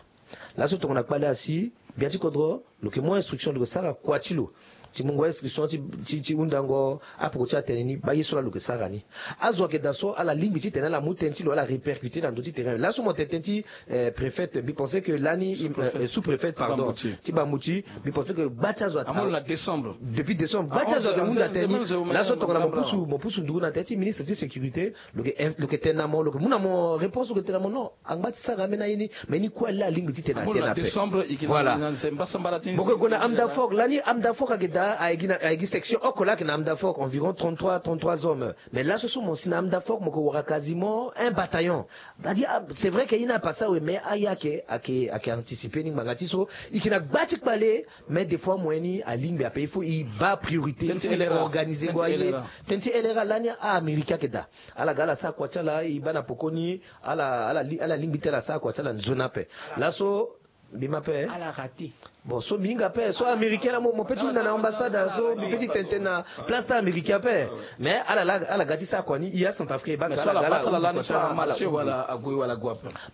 Laso tongana kpale asi, gbia ti kodro lo yeke mu instruction, lo yeke sara kua ti lo ti mungo instruction ti, ti, ti hundango apoko ti atene ni, baa ye so laa lo yeke sara ni. Azo ayeke daa so ala lingbi titene ala mu tënë ti lo, ala répercuter na ndö ti terrain. Laso mo tene tënë ti, eh, préfet, mbi pense que lani, eh, sous-préfet, pardon, ti Bambuti, mbi pense que gba ti azo amu lo na décembre. Depuis décembre gba ti azo ayeke hunda tënë ni. Laso tongana mo pusu, mo pusu nduru na tënë ti ministre ti sécurité, lo yeke in-, lo yeke tene na mo, lo yeke mu na mo réponse, lo yeke tene na mo non. Angba ti sara ambeni aye ni, mais ni kue laa alingbi titene atene ape. Voilà. Mo ke gue na Amdafok, lani Amdafok ayeke Ayeke gi section oko laa ayeke na Amdafok, environ trente-trois, trente-trois hommes. Mais laso so mo si na Amdafok mo yeke wara quasiment un bataillon. C'est-à-dire, c'est vrai que ye ni apasa awe, mais aya ayeke anticiper ni ngbanga ti so e yeke na gba ti kpale. Mais des fois moyen ni alingbi ape, il faut e baa priorité, il faut e organiser ngo aye. Tënë ti L R A lani a-Américain ayeke daa. Ala ga ala sara kua ti ala, e baa na pokoni ala lingbi ti ala sara kua ti ala nzoni ape. Laso mbi ma ape. Bon, so mbi hinga ape so Américain laa mo pe ti hunda na ambassade, so mbi pe ti tene tënë na place ti Américain ape. Mais ala ga ti sara kua ni, e a Centrafrique e baa ga ala ga ala.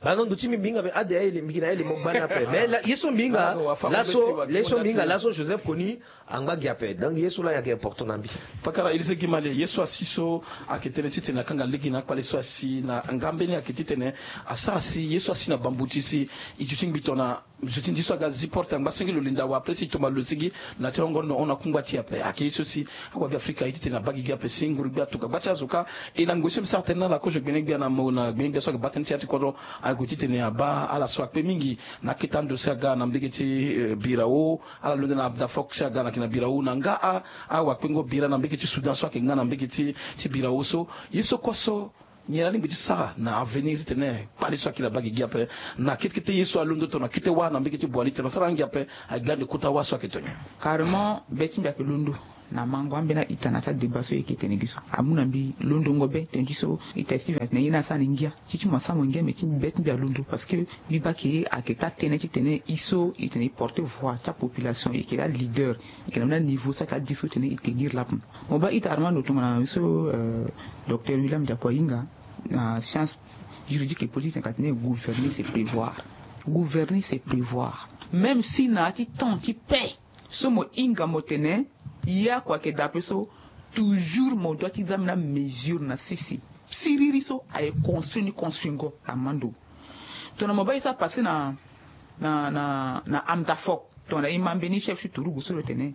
Baa na ndo ti mbi mbi hinga mbi ade aye le mbi yeke na aye le mo gbani ape. Mais ye so mbi hinga laso, ye so mbi hinga laso Joseph Kony angba gi ape. Donc ye so laa ayeke important na mbi. Pakara Élysée Guimale, ye so asi so ayeke tënë ti tene akanga lege na akpale so asi na nga mbeni ayeke ti tene asara si ye so asi na bambu ti si e duti ngbi tongana zo ti ndi so aga zi porte angba senge lo linda wa après si e tomba lo sigi na ti hongo no hon akungba ti e ape. Ayeke ye so si awabe Afrika aye ti tene abaa gigi ape si nguru gbia atuka gba ti azo kâ. E na ngoi so mbi sara tënë na ala kozo gbene gbia na mo na gbene gbia so ayeke baa tënë ti ya ti kodro, ayeke ti tene abaa ala so akpe mingi na akete ando si aga na mbege ti Birao. Ala londo na Amdafok si aga na yeke na Birao na nga awakpengo bira na mbege ti Soudan so ayeke nga na mbege ti Birao so. Ye so kue so nyen alingbi ti sara na avenir ti tene kpale so akiri abaa gigi ape na kete kete ye so alondo tongana kete wâ na mbege ti Boali tene asara angia ape. Ayeke ga ande kota wâ so ayeke tongana carrément be ti mbi ayeke londo na mango ambeni a-ita na ti adébat so e yeke tene gi so amu na mbi londongo be tene ti so ita ti mbi atene ye ni asara ni ngia ti ti mo asara mo ngia mais ti mbi be ti mbi alondo parce que mbi baa ke ayeke taa tënë ti tene e so e tene e porter voix ti apopulation e yeke daa leader. E yeke na mbeni aniveau so ayeke adi so tene e tenir lape mo baa ita Armando tongana so docteur William Diapo ahinga na science juridique et politique tene ka tene gouverner c'est prévoir. Gouverner c'est prévoir. Même si na ya ti temps ti paix so mo hinga mo tene ya kua ayeke daa ape so toujours mo doit ti za mbeni amesure na sese. Siriri so aye construit ni construingo Armando. Tongana mo baa ye so apasse na na na na Amdafok tongana e ma mbeni chef ti turugu so lo tene.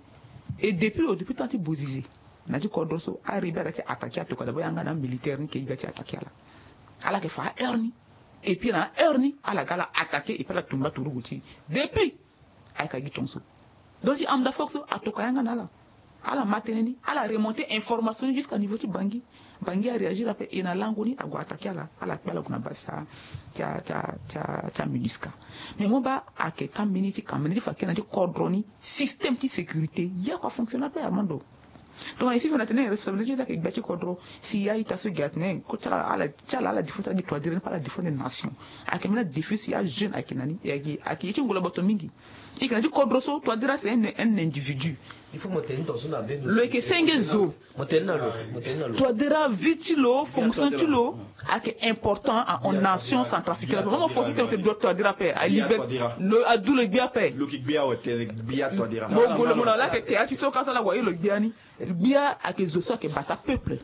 Et depuis lo depuis temps ti Bozizé na ti kodro so arebe aga ti attaquer atoka d'abord yanga na amilitaire ni ke e ga ti attaquer ala. Ala yeke fa aheure ni. Et puis na aheure ni ala ga ala attaquer et puis ala tumba turugu ti e depuis ayeke gi tongaso. Donc ti Amdafok so atoka yanga na ala. Ala ma tënë ni ala remonter information ni jusqu'à niveau ti Bangui. Bangui aréagir ape e na lango ni ague attaquer ala. Ala kpe ala gue na base ti a ti a ti a ti a MINUSCA. Mais mo baa ayeke taa mbeni ti kamene ti fa kena ti kodro ni système ti sécurité ye ako afonctionner ape Armando. Tongana e si fo na tene responsabilité ti ayeke gbia ti kodro si ya ita so gi atene ko ti ala ala ti ala ala défendre ti ala gi toidira ni pe ala défendre nation. Ayeke mbeni adéfi si ajeune ayeke na ni ayeke ye ti ngolo boto mingi. E yeke na ti kodro so toidira c'est un individu. Lo yeke senge zo. Toidira vie ti lo fonction ti lo ayeke important à on nation centrafricaine. Mo mo fonction ti lo te doit toidira ape alibere lo adu lo gbia ape. Mo gue lo mo na lo ayeke tea ti so ka so ala waye lo gbia ni. Gbia ayeke zo so ayeke bata peuple.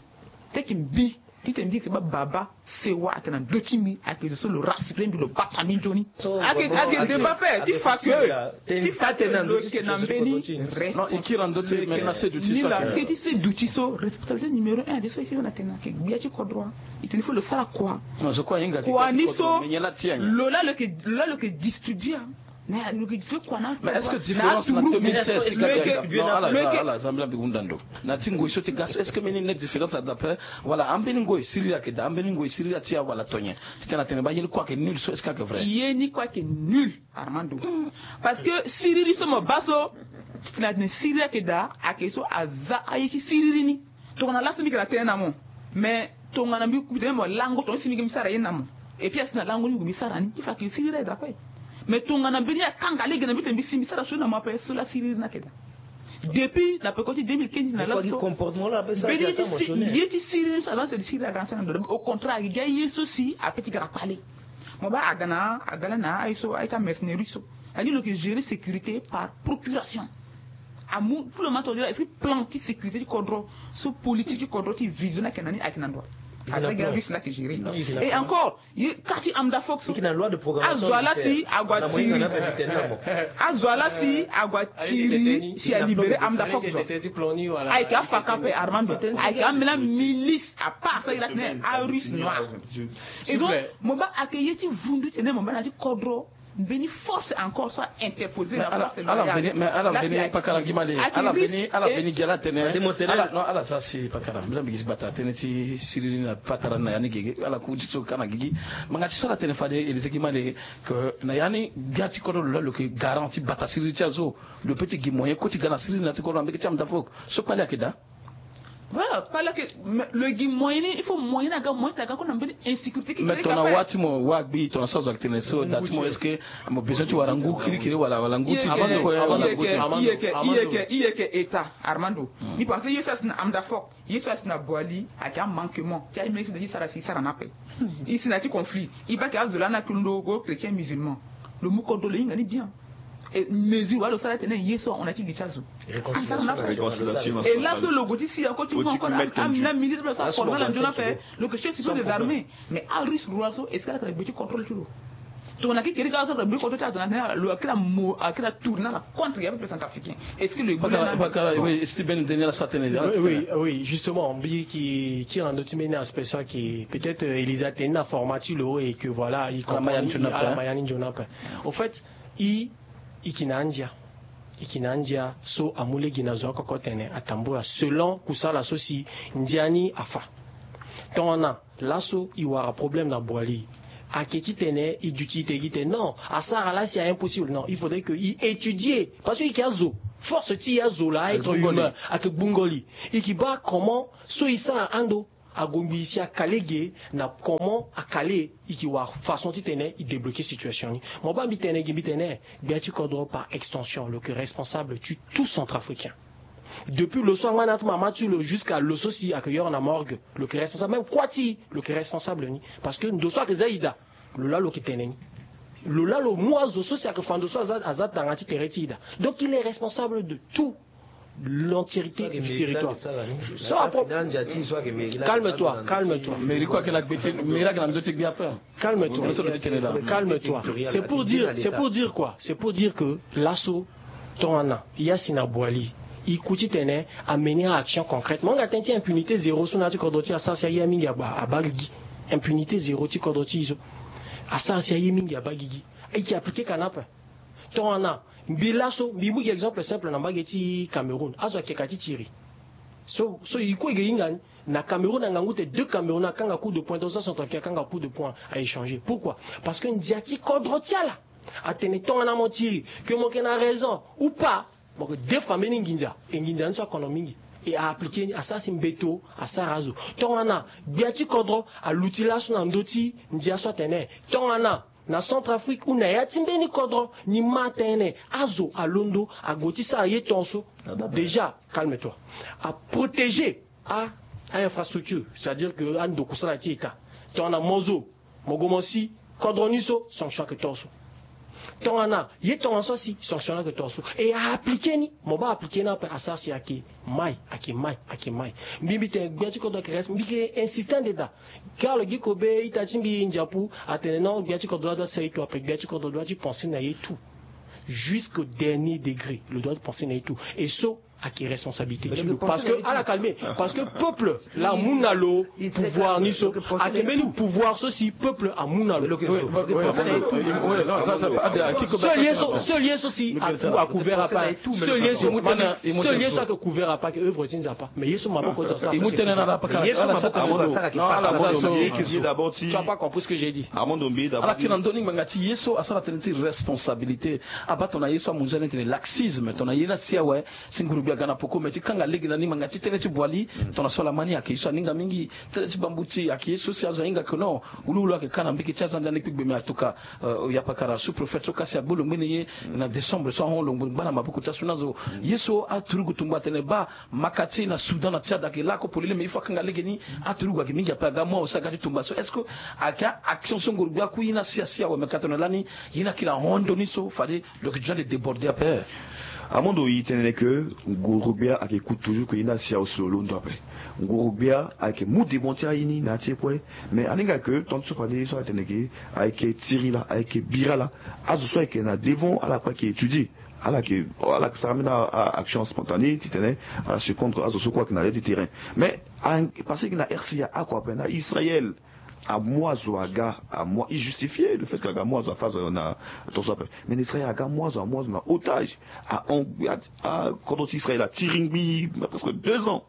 Teke mbi titene mbi yeke baa baba sewa ayeke na ndö ti mbi ayeke zo so lo rassurer mbi lo bata mbi nzoni. Ayeke ayeke débat ape ti fa ke ti fa ke lo yeke na mbeni. Non, e kiri na ndö ti mbi mais na seduti so ayeke. Ni la ke ti seduti so responsabilité numéro un ade so e si na tene ayeke gbia ti kodro. E tene fo lo sara kua. Kua ni so lo la lo yeke lo la lo yeke distribuer. Mais est-ce que différence na deux mille seize ti ga? Non, ala za ala za mbela mbi hunda ndo na ti ngoi so ti ga so est-ce que mbeni neti différence ada ape? Wala ambeni ngoi siriri ayeke daa ambeni ngoi siriri atia wala tonyen? Titene atene baa ye ni kue ayeke nul so est-ce que ayeke vrai? Ye ni kue ayeke nul Armando. Parce que siriri so mo baa so titene atene siriri ayeke daa ayeke so aza aye ti siriri ni. Tongana laso mbi yeke na tënë na mo. Mais tongana mbi kute mo lango tongana si mbi yeke mbi sara ye na mo. Et puis asi na lango ni mbi gue mbi sara ni ti fa ke siriri aye daa ape. Mais tongana mbeni akanga lege na mbi tene mbi si mbi sara so na mo ape so la siriri ni ayeke daa. Depuis na peko ti deux mille quinze na laso mbeni ye ti siriri so aza tene siriri aga na sara ndo au contraire ayeke gi aye so si ape ti gara kpale. Mo baa aga na aga la na aye so aye ti amercenerie so. Ani lo yeke gérer sécurité par procuration. Amu tout le monde est-ce que plan ti sécurité ti kodro so politique ti kodro ti vision ayeke na ni ayeke na ndo. Aza gi arusse la yeke gérer. Et encore ye ka ti Amdafok so azo ala si ague atiri. Azo ala si ague atiri si alibérer Amdafok so. Ayeke afaka ape Armando ayeke ambeni amilice à part ça il a tene arusse noir. Et donc mo baa ayeke ye ti vundu tene mo baa na ti kodro. Mbeni force encore so a interposer na force loyale. Mais ala veni pakara ngi male. Ala veni, ala veni gi ala tene. Ala, non, ala sara si pakara. Mbi za mbi gi si gbata tënë ti siriri na patara na ya ni gege. Ala ku ti so ka na gigi. Ngbanga ti so ala tene fade Élysée gi male que na ya ni gbia ti kodro lo laa lo yeke garant ti bata siriri ti azo. Lo peut ti gi moyen kue ti ga na siriri na ya ti kodro na mbege ti Amdafok. So kpale ayeke daa. Voilà, kpale ayeke, mais lo gi moyen ni, il faut moyen ni aga, moyen ti aga kue na mbeni insécurité qui crée. Mais tongana wa ti mo, wa gbi tongana so azo ayeke tene so, da ti mo, est-ce que mo besoin ti wara ngu kirikiri wala, wala ngu ti kue, wala ngu ti. I yeke, i yeke, i yeke état, Armando. Ni parce que ye so asi na Amdafok, ye so asi na Boali, ayeke amanquement ti aye mbeni so na ti sara si sara na ape. I si na ya ti conflit, i baa ayeke azo laa na kiri ndo go chrétien musulman. Lo mu kodro lo hinga ni bien. E mesure wala lo sara tene ye so ahon na ya ti li ti azo. Réconciliation nationale. E laso lo gue ti si encore ti mu encore amina militaire so aforme ala nzoni ape. Lo yeke chef suprême des armées. Mais arisque roi so est-ce que ala yeke na gbe ti contrôle ti lo? Tongana ki keri ga ala so ala gbe ti contrôle ti azo na tene lo akiri amo akiri atourne ala contre ya peuple centrafricain. Est-ce que lo yeke gbu na? Pakara, oui, est-ce que Ben Daniel asara tene? Oui, oui, justement, mbi yeke kiri na ndö ti mbeni aspect so ayeke peut-être, euh, Élysée atene ni na format ti lo et que voilà, i comprend, ala ma ya ni nzoni ape. Au fait, i, i yeke na andia. I yeke na andia so amu lege na zo oko oko tene atambula selon kusala so si ndia ni afa. Tongana laso i wara problème na Boali, ayeke titene i duti i te gi tene non, asara laa si a impossible. Non, il faudrait que i étudier parce que i yeke azo. Force ti i azo laa, être humain, ayeke gbungo li. I yeke baa comment so i sara ando ague ngbii si akale ge na comment akale, i yeke wara façon titene i débloquer situation ni. Mo baa mbi tene gi mbi tene gbia ti kodro par extension lo yeke responsable ti tout centrafricain. Depuis lo so angba na ya ti mama ti lo jusqu'à lo so si ayeke yoro na morgue, lo yeke responsable. Même kuâ ti lo yeke responsable ni. Parce que ndo so ayeke za i daa, lo laa lo yeke tene ni. Lo laa lo mu azo so si ayeke fa ndo so aza, aza tanga ti tere ti i daa. Donc il est responsable de tout l'entièreté du territoire. So apro- Calme-toi, calme-toi. Mairie kue ayeke na gbe ti, mairie ayeke na ndö ti gbe ape. Calme-toi. Calme-toi. C'est pour dire, c'est pour dire quoi? C'est pour dire que laso tongana ya si na Boali, i ku titene amener action concrète. Mo hinga tënë ti impunité zéro so na ya ti kodro ti asara si aye mingi abaa, abaa gigi. Impunité zéro ti kodro ti i so asara si aye mingi abaa gigi. I yeke appliquer ka na ape. Tongana mbi laso mbi mu gi exemple simple na mbage ti Cameroun, azo ayeke ka ti tiri. So, so i kue i yeke hinga ni na Cameroun na ngangu te deux Camerounais akanga coup de poing, deux centrafricains akanga coup de poing, a échanger. Pourquoi? Parce que ndia ti kodro ti ala atene tongana mo tiri, que mo yeke na raison ou pas, mo yeke defa mbeni nginza. E nginza ni so akono mingi. E a appliquer ni, asara si mbeto asara azo. Tongana gbia ti kodro aluti laso na ndö ti ndia so atene tongana na Centrafrique ou na ya ti mbeni kodro ni ma tënë, azo alondo ague ti sara ye tongaso. Déjà, calme-toi. A protéger a, a infrastructure, c'est-à-dire que ando kusala ti État. Tongana mo zo mo gue mo si kodro ni so, sanction ayeke tongaso. Tongana ye tongaso asi, sanction ni ayeke tongaso. E a appliquer ni, mo baa appliquer ni ape, asara si ayeke mai, ayeke mai, ayeke mai. Mbi, mbi tene gbia ti kodro ayeke respect, mbi yeke insister ande daa. Karl Guy Kobe, ita ti mbi Ndiapu, atene non, gbia ti kodro la doit ti sa ito ape, gbia ti kodro doit ti penser na ye tout. Jusqu'au dernier degré, lo doit ti penser na ye tout. Et so ayeke responsabilité ti lo. Parce que, ala calmer, parce que peuple laa amu na lo pouvoir ni so, ayeke mbeni pouvoir so si peuple amu na lo. Seul ye so, seul ye so si a cou-, a couvert ape. Seul ye so, seul ye so ayeke couvert ape ayeke œuvre ti Nzapa. Mais ye so maboko ti asara. Tu as pas compris ce que j'ai dit. Armando Mbi d'abord. Ala tene na ndö ni ngbanga ti ye so asara tënë ti responsabilité. Abaa tongana ye so amu nzoni tene laxisme, tongana ye ni asi awe, si nguru gbia aga na poko, me ti kanga lege na ni ngbanga ti tënë ti Boali, tongana so ala ma ni ayeke ye so aninga mingi, tënë ti bambuti ayeke ye so si azo ahinga que non, wuluwulu ayeke ka na mbege ti aza ndia ni kpigbe, me atuka, euh, oyapakara sous-préfet so kasi agbu lo ngbene ye na décembre so ahon lo ngba na maboko ti asu ni azo. Ye so aturugu tumba atene baa, maka ti e na Soudan na Tchad ayeke lako polele, me il faut akanga lege ni. Aturugu ayeke mingi ape, aga mo awe si aga ti tumba so. Est-ce que ayeke a-action so ngoro gbia aku ye ni asi asi awe, me ka tongana lani ye ni akiri ahon ndo ni so fade lo yeke besoin de déborder ape? Amondo, e tene que ngoro gbia ayeke ku toujours que ye ni asi awe si lo londo ape. Ngoro gbia ayeke mu devant ti aye ni na ya ti e kue. Mais aninga que tant so fade ye so atene que ayeke tiri laa, ayeke bira laa, azo so ayeke na devant ala kue ayeke étudier. Ala yeke, ala yeke sara mbeni a-, a-, action spontanée titene ala surprendre azo so kue ayeke na le ti terrain. Mais a, parce que na R C A oko ape na Israël, Amu azo aga, amu a- i justifier le fait que aga mu azo afa azo na tonso ape. Mais na Israël aga mu azo, amu azo na otage. A hon- a- a- kodro ti Israël atiri ngbii presque deux ans,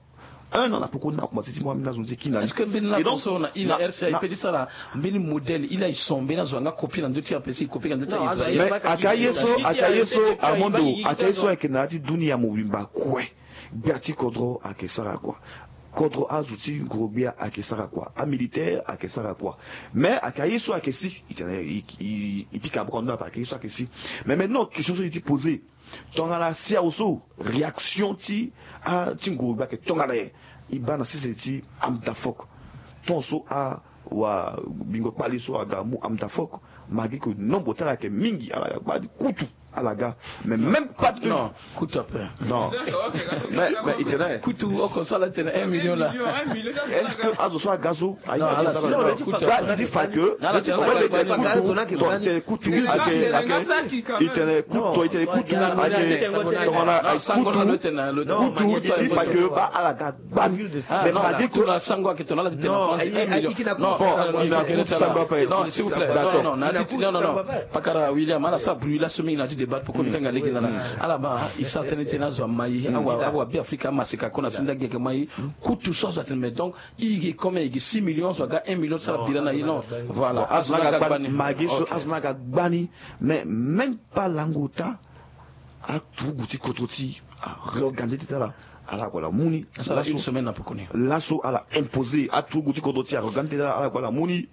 un an na poko ni na komanse ti mu ambeni azo ni ti kina ni. Est-ce que mbeni la Et donc, tonso na i na na- R C A i na- pe ti sara mbeni modèle? I la i son mbeni azo anga copie na ndö ti R P C, i copie na ndö ti Non, azo Israël. Mais ayeke aka ye so, aka ye so, Armando, aka ye so ayeke na ya ti dunia mobimba kue. Gbia ti kodro ayeke sara kua. Kodro azo ti ngoro-gbia ayeke sara kua. Amilitaire ayeke sara kua. Mais ayeke aye so ayeke si. I tene i- i- i pika boko ndo ape, ayeke aye so ayeke si. Mais maintenant question so i ti poser, tongana si awe so réaction ti a ti ngoro-gbia ayeke tongana nyen? I baa na sese ti Amdafok. Ton so a- wa bingo kpale so aga mu Amdafok, malgré que nombre ti ala ayeke mingi, ala ga gbani kutu, ala ga. Mais même pas de- Non, kutu ape. Non. Mais mais i tene kutu oko so ala tene un million la. Est-ce que azo so aga so aye? Non, ala si- non, ti fa que i tene kutu, i tene kutu ayeke, i tene kutu ayeke tongana aye kutu, kutu i fa que ba ala ga gbani. Mais malgré que na sango ayeke tongana ala ti tene na France un million. Non, i na kutu sango ape. Non, s'il vous plaît. D'accord. Non, non, non, non. Pakara William, ala sara bruit la so mingi na ya ti débat, poko mbi tanga lege na ala. Ala baa i sara tënë ti tene azo amai, awa awa Beafrika amaseka kue na senda gi ayeke mai. Kutu so azo atene, mais donc i yeke comme i yeke six millions, azo aga un million ti sara bira na ye. Non, voilà. Azo ni aga gbani, malgré so azo ni aga gbani. Mais même pas lango ota, aturugu ti kodro ti areorganiser tënë ti ala, ala gue ala mu ni. Asara une semaine na poko ni. Laso ala imposer aturugu ti kodro ti areorganiser tënë ti ala, ala gue ala mu ni.